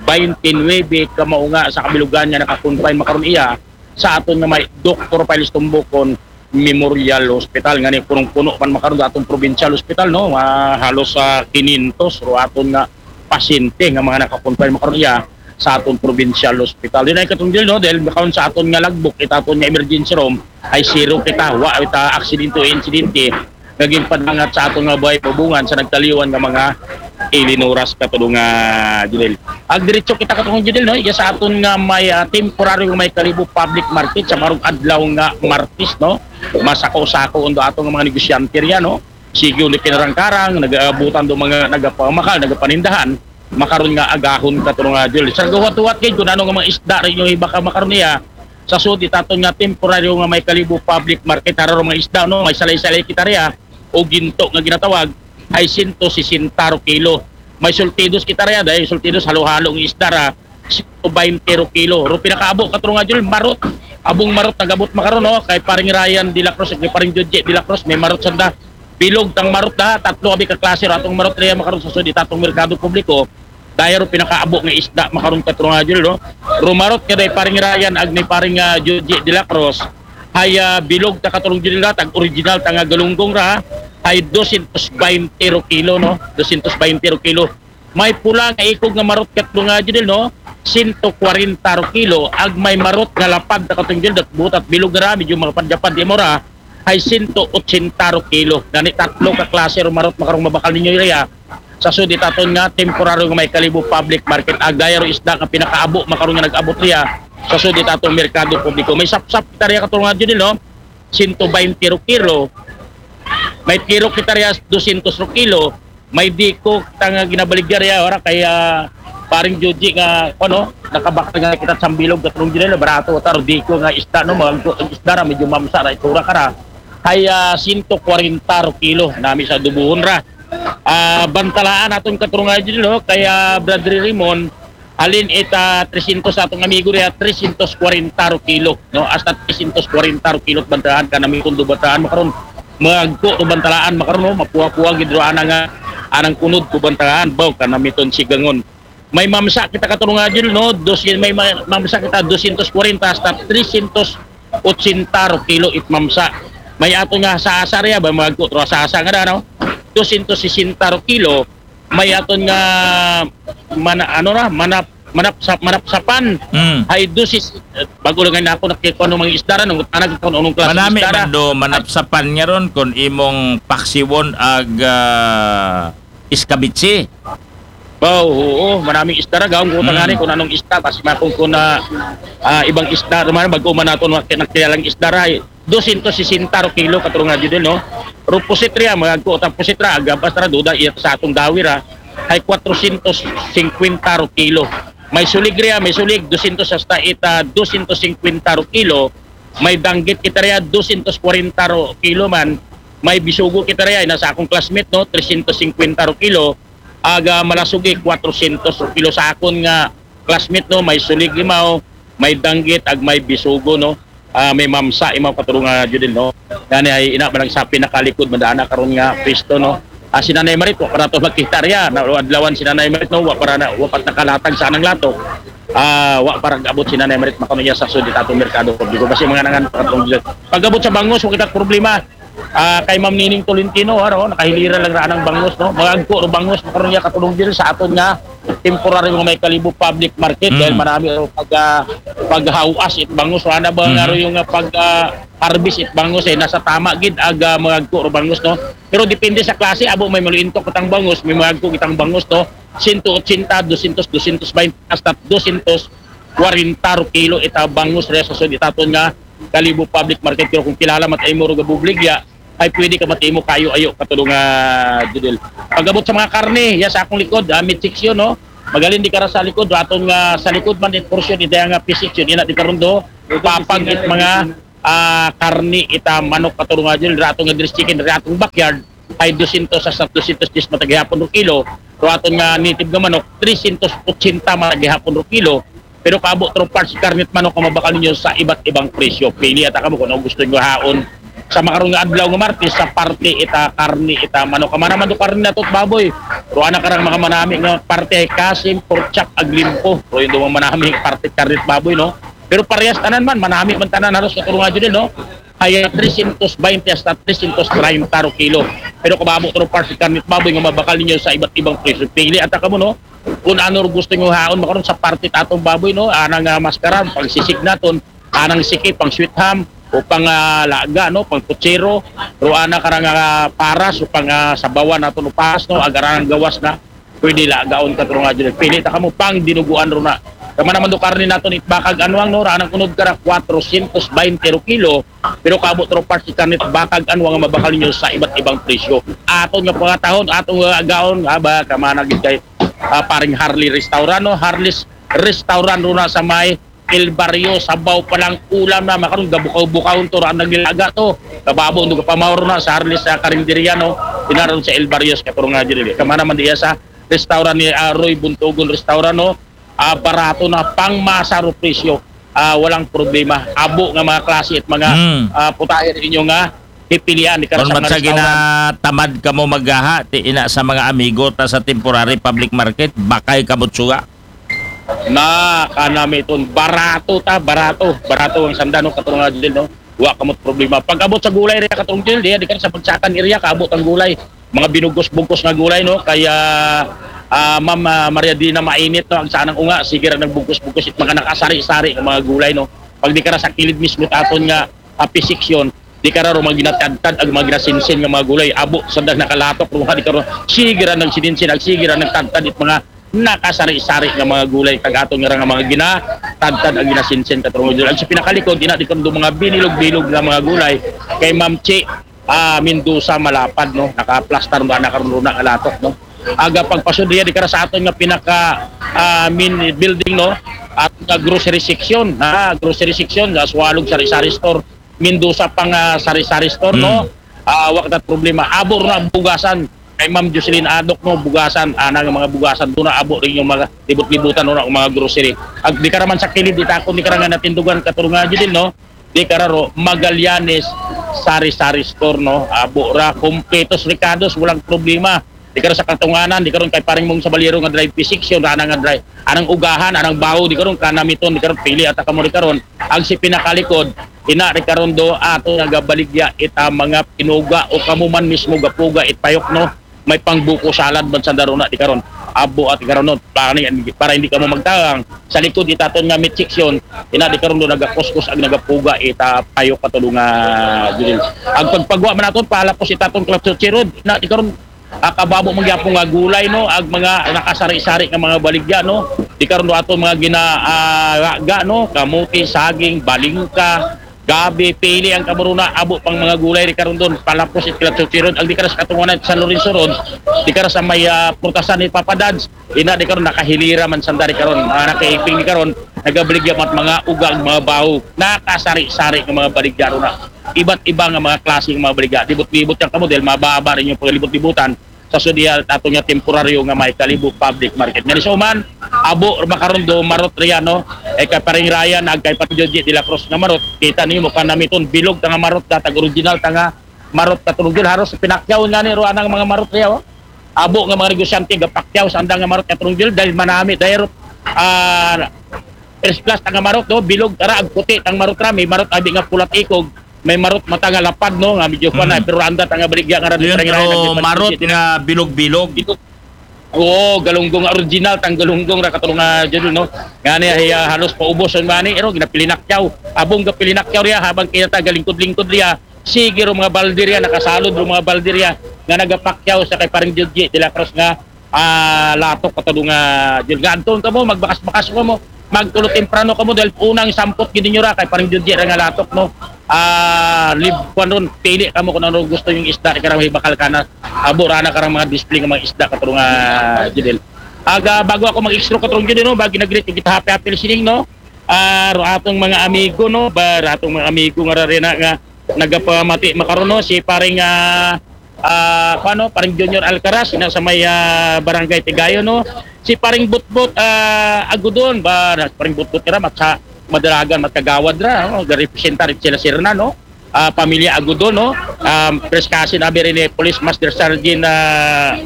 baynte nuwebe ka maunga sa kabilugan nga naka-confine makaron iya sa aton nga may Doktor Piles Tumbukon Memorial Hospital. Ngani punong-puno man makaron sa aton provincial hospital, no? Ah, halos sa kinyentos ro aton nga pasyente nga mga naka-confine makaron iya sa aton provincial hospital. Diin ay, Katong Judel, no? Dahil makaron sa aton nga logbook, it aton nga emergency room ay zero kita, wa kita aksidente o insidente nga ginpadangat sa aton nga buhay pabungan sa nagtaliwan nga mga ilinuras, Katong, ah, Judel. Ag diretso kita, Katong Judel, no? Iya sa aton nga may, ah, temporaryo nga may Kalibo Public Market sa makarong adlaw nga Martes, no? Masako-sako undo aton nga mga negosyante riya, no? Sige undo kinarang-karang, nagabutan do mga nagapamakal, nagapanindahan. Makaron nga agahon, Katong, ah, Judel. Sa gahuwat-huwat gid kung ano nga mga isda rin yung iba ka makaron niya. Sa sud it aton nga temporaryo nga may Kalibo Public Market, haro ro mga isda, no? May salay-salay kita riya o ginto nga ginatawag, ay sento sesenta ro kilo. May sultidos kita riya, dahil sultidos halo-halo nga isda ra, sento baynte ro kilo. Ro pinakaabo, Katong, ah, Judel, marot. Abong marot nagabot makaron, no? Kay Paring Ryan de la Cruz, kay Paring Judge de la Cruz, may marot sanda. Bilog tang marot da, tatlo abi ka klase ro atong marot riya makaron sa sud it atong merkado publiko. Daya ro pinakaabo nga isda makaron, Katong, ah, Judel, no? Ro marot ka day Paring Ryan ag ni Paring, ah, Judge de la Cruz. Hay, ah, bilog ta, Katong Judel, tag original ta nga galunggong ra. Hay dosyentos baynte ro kilo, no? Dosyentos baynte ro kilo. May pula nga ikog nga marot, Katong, ah, Judel, no? Sento kwarenta ro kilo. Ag may marot nga lapad ta, Katong Judel, dat butat bilog ra, medyo malapad-lapad di mo ra. Hay sento otsenta ro kilo. Gani tatlo ka klase ro marot makarong mabakal ninyo riya. Sa sud it aton nga temporaryo nga may Kalibo Public Market, ag daya ro isda nga pinakaabo makaron nga nag-abot riya sa sud it atong merkado publiko. May sapsap kita riya, Katong, ah, Judel, no? Sento baynte ro kilo. May tiro kita riya, dosyentos ro kilo. May diko ta nga ginabaligya riya, ora kay, ah, Paring Judge nga, ano, nakabakal nga kita sa bilog, Katong Judel, barato ta ro diko nga isda, no? Mga isda ra, medyo mamsa ra, itura ka ra. Hay, ah, sento kwarenta ro kilo, nami sa dubuhon ra. Ah, bantalaan aton, Katong, ah, Judel, no? Kay, ah, Brother Raymond, halin it, ah, tresyentos sa atong amigo riya, tresyentos kwarenta ro kilo, no? Hasta tresyentos kwarenta ro kilo bantalaan ka nami kun do bantalaan makaron. Magko do bantalaan makaron, no? Mapuwa-puwa gid ro ana nga anang kunod ko bantalaan, baw ka nami ton sigangon. May mamsa kita, Katong, ah, Judel, no? Dos, may ma-, mamsa kita dosyentos kwarenta hasta tresyentos otsenta ro kilo it mamsa. May aton nga sasa riya ba, magko ro sasa nga da, no? Dosyentos sesenta ro kilo. May aton nga mana-, ano ra, manap manapsap manapsapan. Mm. Hay dosis, bago lang nga ako nakikuha ng mga isda ra, nung tanag ko nung klase Manami isda ra. Man do manapsapan nga ron kung imong paksiwon ag, ah, iskabitsi. Wow, oo, manaming isda ra, gawang ko Mm. tangani kung anong isda, kasi makong ko na, ah, ibang isda, naman, bago man nato nak-, nakilalang isda ra, eh. Dosyentos sesenta ro kilo, Katong, ah, Judel, no? Ro pusit riya, mga ko, ta pusit ra, agabas ra, duda, iya sa atong dawi ra, hay kwatrosyentos singkwenta ro kilo. May sulig riya, may sulig, dosyentos hasta ita, dosyentos singkwenta ro kilo. May danggit kita riya, dosyentos kwarenta ro kilo man. May bisugo kita riya, nasa akong classmate, no? Tresyentos singkwenta ro kilo. Aga malasugi, kwatrosyentos ro kilo sa akon nga classmate, no? May sulig imaw, may danggit, ag may bisugo, no? Ah, may mamsa imaw, Katong, ah, Judel, no? Gani ay ina man lang sa pinakalikod, madaan na karon nga pwesto, no? Ah, si Nanay Marit, wa pa nato makita riya, na adlawan si Nanay Marit, no? Wa para na, wa pa nakalatag sa anang latok. Ah, wa para abot si Nanay Marit, makanuya sa sud it atong merkado publiko. Kasi mga nangan, Katong Judel. Pag-abot sa bangos, wa kita problema. Ah, kay Ma'am Nining Tolentino, ano, nakahilira lang ra anang bangos, no? Magagko ro bangos, makaron niya, Katong Judel, sa aton nga temporary nga may Kalibo Public Market, Mm. dahil manami ro pag, ah, paghawas it bangos, wala na ba Mm. nga ro yung, ah, pag, ah, harvest it bangus, eh, nasa tama gid aga magagko ro bangus, no? Pero depende sa klase, abo may maluintok kitang bangus, may magagko kitang bangus, no? Sento ochenta, dosyentos, dosyentos baynte, hasta dosyentos kwarenta ro kilo ita bangus re sa sud itaton nga Kalibo Public Market. Pero kung kilala man ta imo ro gabubligya, ay pwede ka matimo kayo ayo katulong nga Judel. Pag-abot sa mga karne, ya sa akong likod, ah, meat section, no? Magalin di kara sa likod, aton nga sa likod man it portion, ita nga fish section, ina di karon do, papag it mga ah, karne ita manok katulong nga Judel, aton nga dressed chicken, atong backyard, ay dosyentos hasta dosyentos diyes matag gihapon ro kilo, pero aton nga native nga manok, tresyentos ochenta matag gihapon ro kilo. Pero kaabo tro parts karne it manok nga mabakal ninyo sa iba't ibang presyo. Pili ata kamo kung ano gusto nyo haon. Sa makaron nga adlaw nga Martes, sa parte ita karne ita manok. Kamana man do karne nato it baboy. Pero ana karang mga manami nga parte ay kasim, pork chop, ag limpo. Pero yung dumang manami parte karne it baboy, no? Pero parehas tanan man, manami man tanan halos katulong nga Judel, no? Kaya tresyentos baynte hasta tresyentos treinta ro kilo. Pero kababo tro parts karne it baboy nga mabakal ninyo sa iba't ibang presyo. Pili ata kamo, no? Kung ano ro gusto nyo haon, makaron sa parte it atong baboy, no? Anang ah, maskaran, pang sisig naton, anang siki, pang sweet ham, o pang ah, laga, no? Pang putsero, pero ana karang ah, paras, o pang ah, sabawan naton o paras, no? Agaran ang gawas na. Pwede lagaon katulong nga Judel. Pili ta kamo pang dinuguan ro na. Kamana man do karne naton it bakag anwang, no, ranang unod kara kwatrosyentos baynte ro kilo, pero kaabo tro parts it karne it bakag anwang nga mabakal ninyo sa iba't ibang presyo. Aton nga pangatahon, aton nga agaon, aba, kamana gid kay ah, paring Harley Restaurant, no? Harley's Restaurant ro na sa may El Barrio, sabaw pa lang ulam na, makaron gabukaw-bukawon to, raan naglaga to. Kababo do kapamaw ro na sa Harley's sa karinderya, no? Ina ron sa El Barrio, katulong nga Judel. Kamana man diya sa restaurant ni ah, Roy Buntugon Restaurant, no? Ah, barato na, pang masa ro presyo. Ah, walang problema. Abo nga mga klase at mga Hmm. ah, putahe ninyo nga pipilian. Di ka Kung sa mga matsa restaurant. Ginatamad kamo maggaha, ti ina sa mga amigo ta sa temporary public market, bakay kamo tsuga. Na, kanami ton. Barato ta, barato. Barato ang sanda, no? Katulong nga Judel, no? Wa kamot problema. Pag-abot sa gulay, rin katulong Judel, di, di ka sa Bagsakan area, kaabot ang gulay. Mga binugos-bugos nga gulay, no? Kaya, ah, Ma'am ah, Maria Dina, mainit, no? Ang sanang unga, sige ra nagbugos-bugos it mga nakasari-sari nga mga gulay, no? Pag di ka ra sa kilid mismo taton nga api section, di ka ra ro mga ginatadtad ag mga ginasinsin nga mga gulay. Abo, sa dag nakalatok, ro, di ka ro, sige ra nagsininsin, ag sige ra nagtadtad it mga nakasari-sari nga mga gulay, kag aton nga ra nga mga ginatadtad ag ginasinsin, katulong nga Judel. Ag sa pinakalikod, ina di ka ro do mga binilog-bilog nga mga gulay, kay Ma'am Chi, ah, Mendoza Malapad, no? Nakaplastar na nakaron ro na nga latok, no? Aga pagpasud diya, di ka ra sa aton nga pinaka ah, main building, no? At nga grocery section, ha, grocery section, sa Sualog Sari-Sari Store, Mendoza pang ah, Sari-Sari Store, no? Mm. Ah, wa ka ta problema. Abo ro na bugasan. Kay Ma'am Jocelyn Adok, no, bugasan, ana nga mga bugasan, do na abo rin yung mga libot-libutan, no, na mga grocery. Ag di ka ra man sa kilid, di ta ako, di ka ra nga natindugan, katulong nga Judel, no? Di ka ra ro, Magallanes Sari-Sari Store, no? Abo ra, kompletos rekados, walang problema. Di ka ra sa Katunganan, di ka ron kay paring mong sa Baliro nga drive P section, ana nga drive. Anang ugahan, anang baho, di ka ron kanamiton, di ka ron pili ata kamo di ka ron. Ang si pinakalikod, ina di ka ron do, ato nga gabaligya, ita mga pinuga, o kamo man mismo gapuga, it payok, no? May pangbuko salad man sa daruna, di ka ron. Abo at di ka ron, no? Para, ni- para hindi ka mo magtagang. Sa likod, itaton nga meat section, ina di ka ron do, nagakuskus, ag nagapuga, ita payok katulong nga, Judel. Ang pagpagwa man naton, palapos itaton Club Suchi Road, ina di ka ron, ah, kababo man gyapon nga gulay, no? Ag mga nakasari-sari nga mga baligya, no? Di karon do ato mga gina ah, ga, no? Kamuti, saging, balingka, gabi, pili ang kamuruna, abo pang mga gulay di karon don. Palapos it Club Suchi Road, ang di ka ra sa Katunganan, San Lorenzo Road, di ka ra sa may ah, purtasan ni Papa Dads. Ina di karon nakahilira man sanda di karon. Ah, nakaiping di karon, nagabaligya mat mga uga, mga baho, nakasari-sari nga mga baligya ron na. Iba't iba nga mga klase nga mga baligya. Libot-libot yan kamo dahil mababa rin yung paglibot-libutan. Sa sud diha ato nga temporaryo nga may Kalibo Public Market. Nga so man, abo makaron do marot riya, no? E kay paring Ryan, ag kay Pangjoji de la Cruz nga marot. Kita niyo mo kanamiton, bilog ta nga marot, datag original ta nga marot katulong Judel. Haros pinakyaw nga ni ro anang mga marot riya, oh. Abo nga mga negosyante gapakyaw sa andang nga marot katulong Judel dahil manami, dahil ah, first class ta nga marot, no? Bilog ta ra, ag puti tang marot ra, may marot abi nga pulat ikog, may marot mata nga lapad, no, nga medyo panay, pero anda ta nga baligya nga ra Yun, diferente pero nga marot diferente. Nga bilog-bilog. Bilog. Oo, galunggong original, tang galunggong ra katulong nga, Judel, no? Ngani, ay, ah, halos paubos ang mani, ero, ginapilinakyaw. Abong gapilinakyaw riya, habang kita galingkod-lingkod riya, sige ro mga balde riya, nakasalod ro mga balde riya, nga nagapakyaw sa kay Pareng Judge de la Cruz nga, ah, latok katulong nga, Judel, nga anton kamo, magbakas-bakas kamo, magtulo temprano kamo, dahil unang sampot gid ninyo ra, kay Pareng Judge ra nga latok, no? Ah, lib-, kwan ron, pili kamo kung ano gusto yung isda, karang may bakal kana, abo ra na karang mga display nga mga isda, katulong nga, Judel. Aga, bago ako mag-extra katulong Judel, no? Bagi nag-greet, kita happy, happy listening, no? Ah, ro atong mga amigo, no? Ba, ro atong mga amigo nga rarena nga nagapamati makaron, no? Si paring, ah, ah, kwan, no? Paring Junior Alcaraz, ina sa may, ah, Barangay Tigayo, no? Si paring Butbut, ah, Agudon, ba, na-, paring Butbut kira, matsa, madalagan, matkagawad ra, no? Garepresentar sila sirna, no? Ah, pamilya Agudon, no? Um, Preskasin, abi rin ni Police Master Sergeant, ah,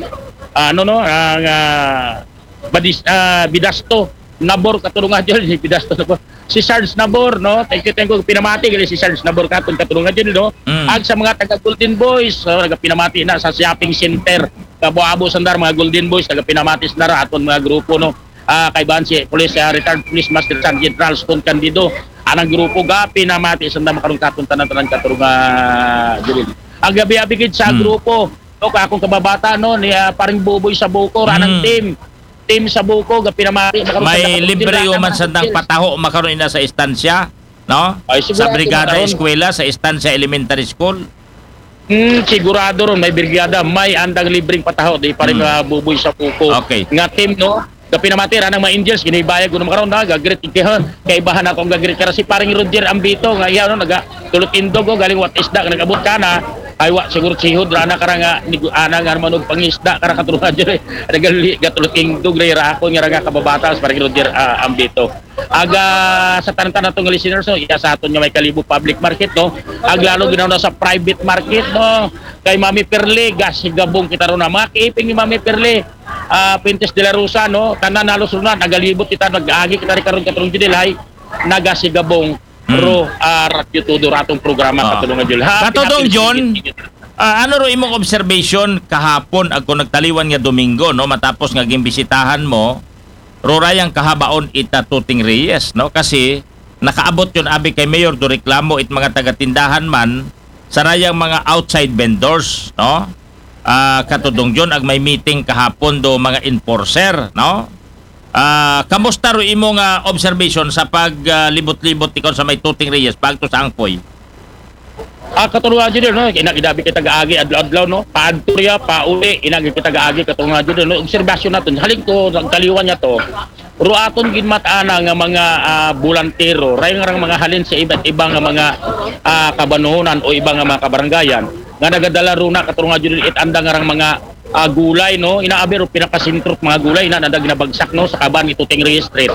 ah, ano, no? Ang, ah, Badis-, ah, Bidasto, Nabor, katulong nga dyan, si Bidasto, Nabor. Si Sarge Nabor, no? Thank you, thank you. Pinamati, gali si Sarge Nabor, katong katulong nga dyan, no? Mm. Ag sa mga taga Golden Boys, so, nagapinamati na sa shopping center. Kabo-abo sandar, mga Golden Boys, nagapinamati sandar, aton mga grupo, no? Ah, kay ban si Police, ah, retired Police Master Sergeant Ralston Candido. Anang grupo, gapinamati sandar, makarong katong tanan-tanan, katulong nga dyan. Ang gabi-abi gid sa Mm. grupo, no, ka akong kababata, no, ni, ah, paring Buboy sa Bukor, anang Mm. team. Team sa Buko, gapinamati, makarong May sandang libre pagdila, human anang sandang team. Pataho makaron ina sa Estancia, no? Ay, Sa sigurado Brigada makaron. Eskwela, sa Estancia Elementary School. Hmm, sigurado ron, may brigada, may andang libreng Pataho, di pa rin Hmm. ah, Buboy sa Buko. Okay. Nga team, no? Gapinamati, ranang mga Angels, ginibayag ko naman karon, ha? Gagrit, kay, kay bahan ako ang gagrit. Kara si paring Roger Ambito, nga iya, no? Naga, tulot indog, oh, galing wat isda, nag-abot ka na. Ay, wa, siguro sihod, rana kara nga, ni, ana nga naman og pangisda, kara katulungan dyan, eh. Nagali, gatulot indog, ra ako, nga ra nga kababata, si paring Roger ah, Ambito. Aga sa tanan-tanan atong listeners, no, iya sa aton nga may Kalibo Public Market, no, ag lalo ginaw na sa private market, no, kay Mami Perle, gasigabong kita ron na. Mga kiiping ni Mami Perle, ah, Pintes de la Rosa, no, tanan halos ron na, nagalibot kita, nag-agi kita rin karon katulong Judel, hay, nagasigabong, Mm. ro, ah, Radyo Todo, ratong programa, Ah. katulong nga Judel. Ha, Katodong happy John, listening. ah, ano ro imong observation kahapon, ako nagtaliwan nga Domingo, no, matapos nga gimbisitahan mo, ro rayang kahabaon ita Tuting Reyes, no? Kasi nakaabot yun abi kay Mayor do reklamo it mga taga-tindahan man sa rayang mga outside vendors, no? Ah, katodong John, ag may meeting kahapon do mga enforcer, no? Ah, kamusta ro imong ah, observation sa paglibot-libot ikaw sa may Tuting Reyes pagto sa Angkoy? Ah, katulong nga dyan, no? Ina, ginabi kita gaagi, adlaw-adlaw, no? Paadto riya, pauli, ina, kita gaagi, katulong nga dyan, no? Obserbasyon natin, halin ko, ang kaliwan niya to, ro aton ginmatana nga mga ah, bulantero, rayang rang mga halin sa iba't ibang nga mga ah, kabanunan o ibang nga mga kabarangayan, nga nagadala ro na, katulong nga dyan, it andang rang mga ah, gulay, no? Ina, abi ro pinakasentro mga gulay, ina, nanda ginabagsak, no? Sa kaban ni Tuting Reyes Street.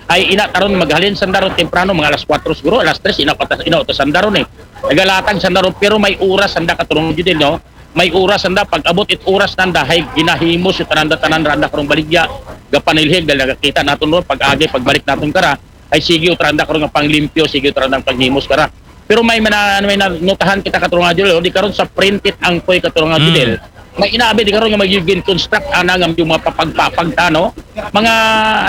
Ay, ina, taron maghalin sandaro temprano, mga alas kwatro siguro, alas tres, ina, patas, ina, utos sandaro ni. Nagalatag sandaro, pero may oras sanda katulong Judel, no? May oras sanda, pag-abot it oras nanda, hay ginahimos it tanan-tanan randa karong baligya, gapanilhig, dahil nagakita naton ron, pag-agi, pagbalik naton kara, ay sige, utranda karong panglimpyo, sige, utranda panghimos kara. Pero may mana-, may na-, notahan kita katulong Judel, di karon sa printed Angkoy katulong Mm. Judel. May inabi di karon nga magiging construct ana nga yung mga papagpapag tano. Mga,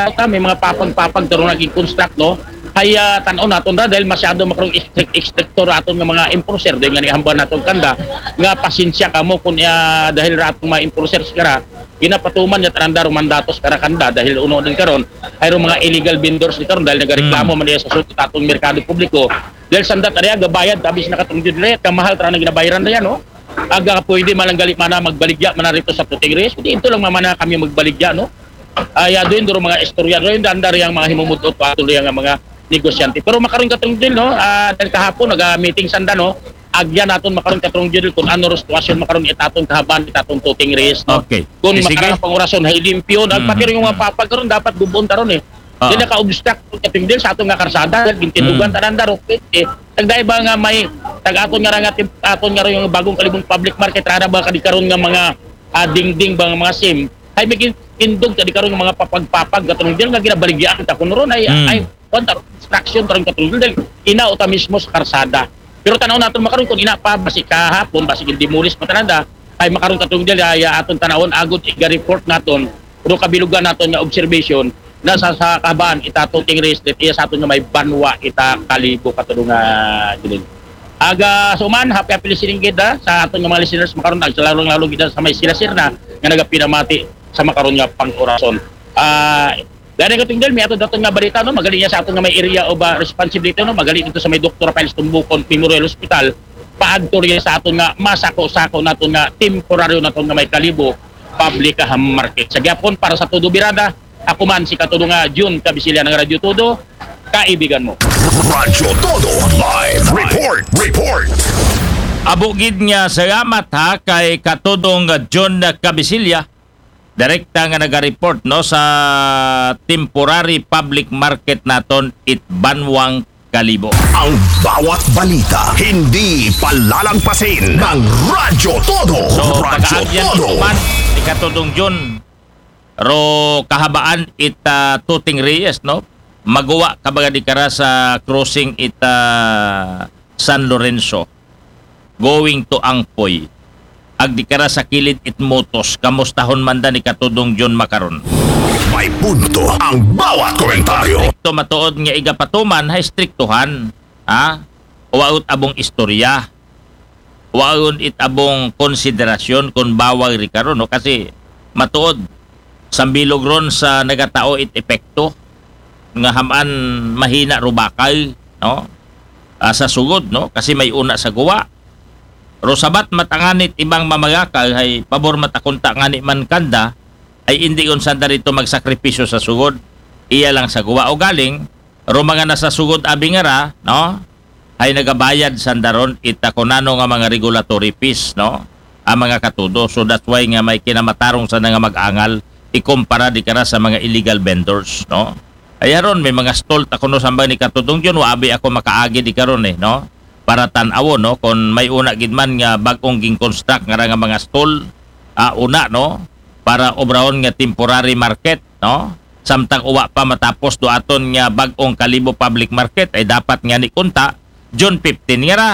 ano ta, may mga papagpapag karon naging construct, no? Ay ah, tan-aw naton ra dahil masyado makarong strict, stricto ra aton nga mga enforcer, dahil nga nihambal naton kanda nga pasensya kamo kung ah, dahil ra atong mga enforcers kara, ginapatuman niya tananda ro mandatos kara kanda dahil uno din karon ay ro mga illegal vendors ni karon dahil nagareklamo Mm. man diya sa sulod atong merkado publiko. Dahil sandat area gabayad, tabi sa nakatungod dire, kamahal tara na ginabayaran na yan, no? Aga pwede man lang gali mana magbaligya mana rito sa Tuting Reyes. Hindi ito lang mamana kami magbaligya, no? Ay, ah, doon, doon mga istorya, doon, dandar yung mga himumudot pa, tuloy ang mga negosyante. Pero makaroon katong din, no? Ah, dahil kahapon, nag-meeting sanda, no? Agyan naton makaroon katong din kung ano ro sitwasyon makaroon itatong kahaban, itatong Tuting Reyes, no? Okay. Kung Eh, sige. makaroon pangurason, hay limpyo, Mm, pati rin yung mga mm. papag karon dapat gubon taron eh. Oo. Di naka-obstruct katong din sa atong nga karsada, dahil gintinugan Mm. tanan daro, eh. Tagdaya ba nga may tag-aton nga ra nga tim-, aton nga ro yung bagong Kalibong Public Market, rara ba kadi karon nga mga ah, dingding ba nga mga sim, ay may gin-, indog ta di karon nga mga papag-papag katong diyan nga ginabaligyaan ta kuno ron ay Mm. ay kwan ta, construction ta ron katong diyan, ina uta mismo sa karsada. Pero tanaw naton makaron kung ina pa, basi kahapon, basi gin-demolish pa tananda, ay makaron katong diyan ay ah, aton tanawon agod iga-report naton pero kabilugan naton nga observation, na sa, sa kahabaan ita Tuting Reyes, it iya sa aton nga may banwa ita Kalibo, katudong nga Junin. Aga suman, happy, happy listening gid, ha, sa aton nga mga listeners makaron, ag sa lalong-lalo gid sa may sila sir na nga nagapinamati sa makaron nga pang-orason. Ah, gani ko tingdol, may ato daton nga balita, no? Magaling niya sa aton nga may area of, ah, responsibility, no? Magaling ito sa may Doktor Rafael Tumbukon Memorial Hospital. Paagto riya sa aton nga masako-sako naton nga temporaryo naton nga may Kalibo public, ah, market. Sa gyapon, para sa Todo Birada, ako man si katudong nga Jun Kabisilya ng Radyo Todo, kaibigan mo. Radyo Todo Live Report. Report. Abo gid nga salamat ha kay katudong Jun Kabisilya, direkta nga naga-report, no, sa temporary public market naton it Banwang Kalibo. Ang bawat balita, hindi palalagpasin ng Radyo Todo. So, Radyo pagaagyan Todo. Ito man, ikatudong Jun, ro kahabaan it, ah, Tuting Reyes, no? Maguwa ka baga di kara sa crossing it, ah, San Lorenzo, going to Angpoy. Ag di kara sa kilid it Motos, kamustahon man da ni katudong Jun makaron. May punto ang bawat komentaryo. Ito matuod nga igapatuman, hay striktuhan, ha? Waut abong istorya. Waun it abong konsiderasyon kung bawal ri karon, no? Kasi matuod, sambilog ron sa nagatao it epekto nga hamaan mahina ro bakal, no? Ah, sa sugod, no? Kasi may una sa guwa. Ro sabat matanganit ibang mamagakal, hay pabor matakunta ngani man kanda, ay indi kon sanda rito magsakripisyo sa sugod. Iya lang sa guwa o galing, ro mga nasa sugod abi nga ra, no? Ay nagabayad sanda ron ita kunano nga mga regulatory fees, no? Ang mga katudo. So that's why nga may kinamatarong sa nga mag-angal ikumpara di kara sa mga illegal vendors, no? Ay aron may mga stall ta kuno sambang ni katudong Jun, wa abi ako makaagi di karon eh, no? Para tan-awon, no, kung may una gid man nga bag-ong ging-construct nga ra nga mga stall, ah, una, no, para obrahon nga temporary market, no? Samtang uwa pa matapos do aton nga bag-ong Kalibo Public Market ay dapat nga ni kunta June fifteen nga ra.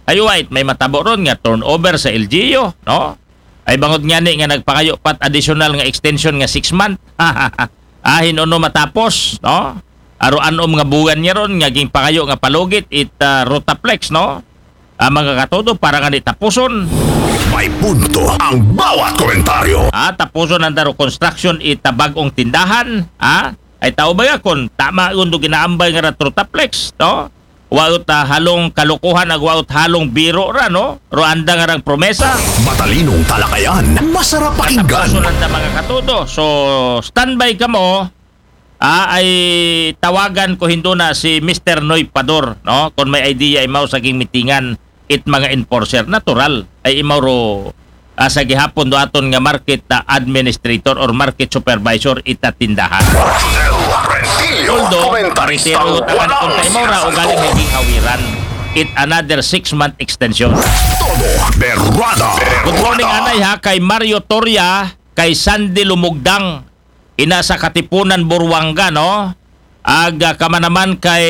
Ay wait, may matabo ron nga turnover sa L G U, no? Ay bangod nga ni nga nagpangayo pat additional nga extension nga six month. Ahin uno matapos, no? Aro anom nga buwan niya ron nga gingpangayo nga palugit it, ah, Rotaplex, no? Ang mga katudo para nga ni tapuson. May punto ang bawat komentaryo. Ah, tapuson ang daro construction ita bag-ong tindahan, ah? Ay tao ba ya kon tama undo ginaambay nga ra Rotaplex, no? Waut, ah, halong kalokohan ag waut halong biro ra, no? Ro anda nga rang promesa. Matalinong talakayan, masarap pakinggan. Tapuson ang da mga katudo. So, standby kamo. Ah, ay tawagan ko hindo na si Mister Noy Pador, no? Kung may idea imaw sa ging mitingan it mga enforcer, natural ay imaw ro, ah, sa gihapon do aton nga market, ah, administrator or market supervisor ita tindahan. Rosel Rentillo, Although, komentarista retiro takan kung kaimaw ra o galing may gihawiran it another six month extension. Todo Berrada. Good morning, anay ha, kay Mario Toria, kay Sandy Lumugdang, ina sa Katipunan, Buruanga, no? Ag, ah, kamanaman kay,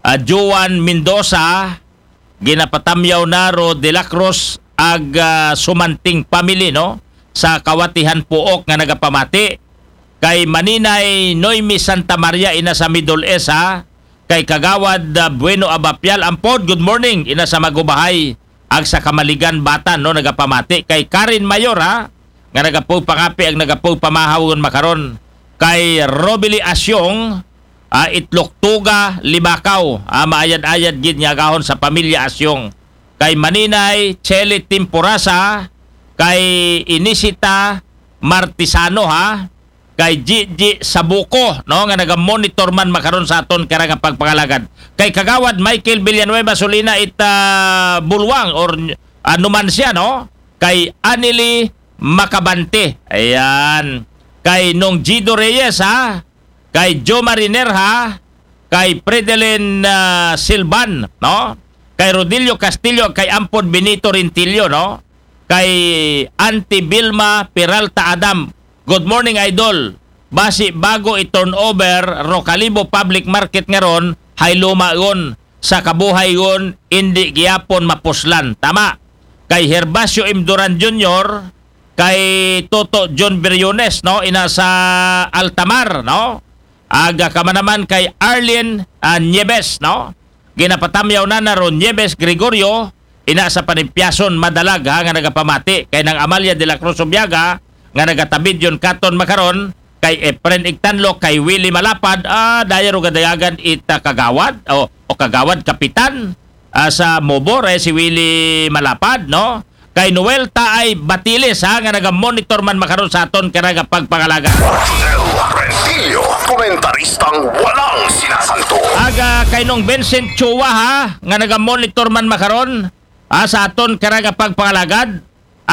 ah, Joan Mendoza, ginapatamyaw na ro De La Cruz, ag, ah, Sumanting family, no? Sa Kawatihan Puok nga nagapamati. Kay Maninay Noemi Santa Maria, ina sa Middle East, ha? Kay Kagawad, ah, Bueno Abapial, ampod, good morning, ina sa Magubahay, ag sa Kamaligan, Batan, no, nagapamati. Kay Karen Mayor, ha, nga nagapu pangapi, ag nagapu pamahaw ngon makaron. Kay Robili Asyong, ah, Itloktuga, Libakaw, ah, maayad-ayad gid nga agahon sa pamilya Asyong. Kay Maninay Chele Timporasa, kay Inisita Martisano, ha, kay Gigi Sabuko, no, nga naga-monitor man makaron sa aton kara nga pagpangalagad. Kay Kagawad Michael Villanueva Solina ita Bulwang or, ah, Numancia, no? Kay Anili Macabante. Ayan. Kay Nong Gido Reyes, ha? Kay Joe Mariner, ha? Kay Fredelin, ah, Silvan, no? Kay Rodilio Castillo, kay Ampon Benito Rintillo, no? Kay Auntie Vilma Peralta Adam. Good morning, Idol. Basi bago i-turnover ro Kalibo Public Market nga ron, hay luma ron sa kabuhay ron, indi gihapon mapuslan. Tama. Kay Herbacio M. Duran Junior, kay Toto John Briones, no, ina sa Altamar, no? Aga ka man naman kay Arlene, ah, Nieves, no? Ginapatamyaw na na ron Nieves Gregorio, ina sa Panimpiason Madalag, ha, nga nagapamati kay Nang Amalia de la Cruz Ubiaga nga nagatabid yon katon makaron, kay Efren Igtanlo, kay Willie Malapad, ah, daya ro gadayagan ita kagawad o, o kagawad kapitan, ah, sa Mobor, eh, si Willie Malapad, no? Kay Noel Taay Batiles, ha, nga naga-monitor man makaron sa aton karaga pagpangalagad. Rodel Rentillo, komentaristang walang sinasanto. Aga kay Nong Vincent Chua, ha, nga naga-monitor man makaron, ha, sa aton karaga pagpangalagad.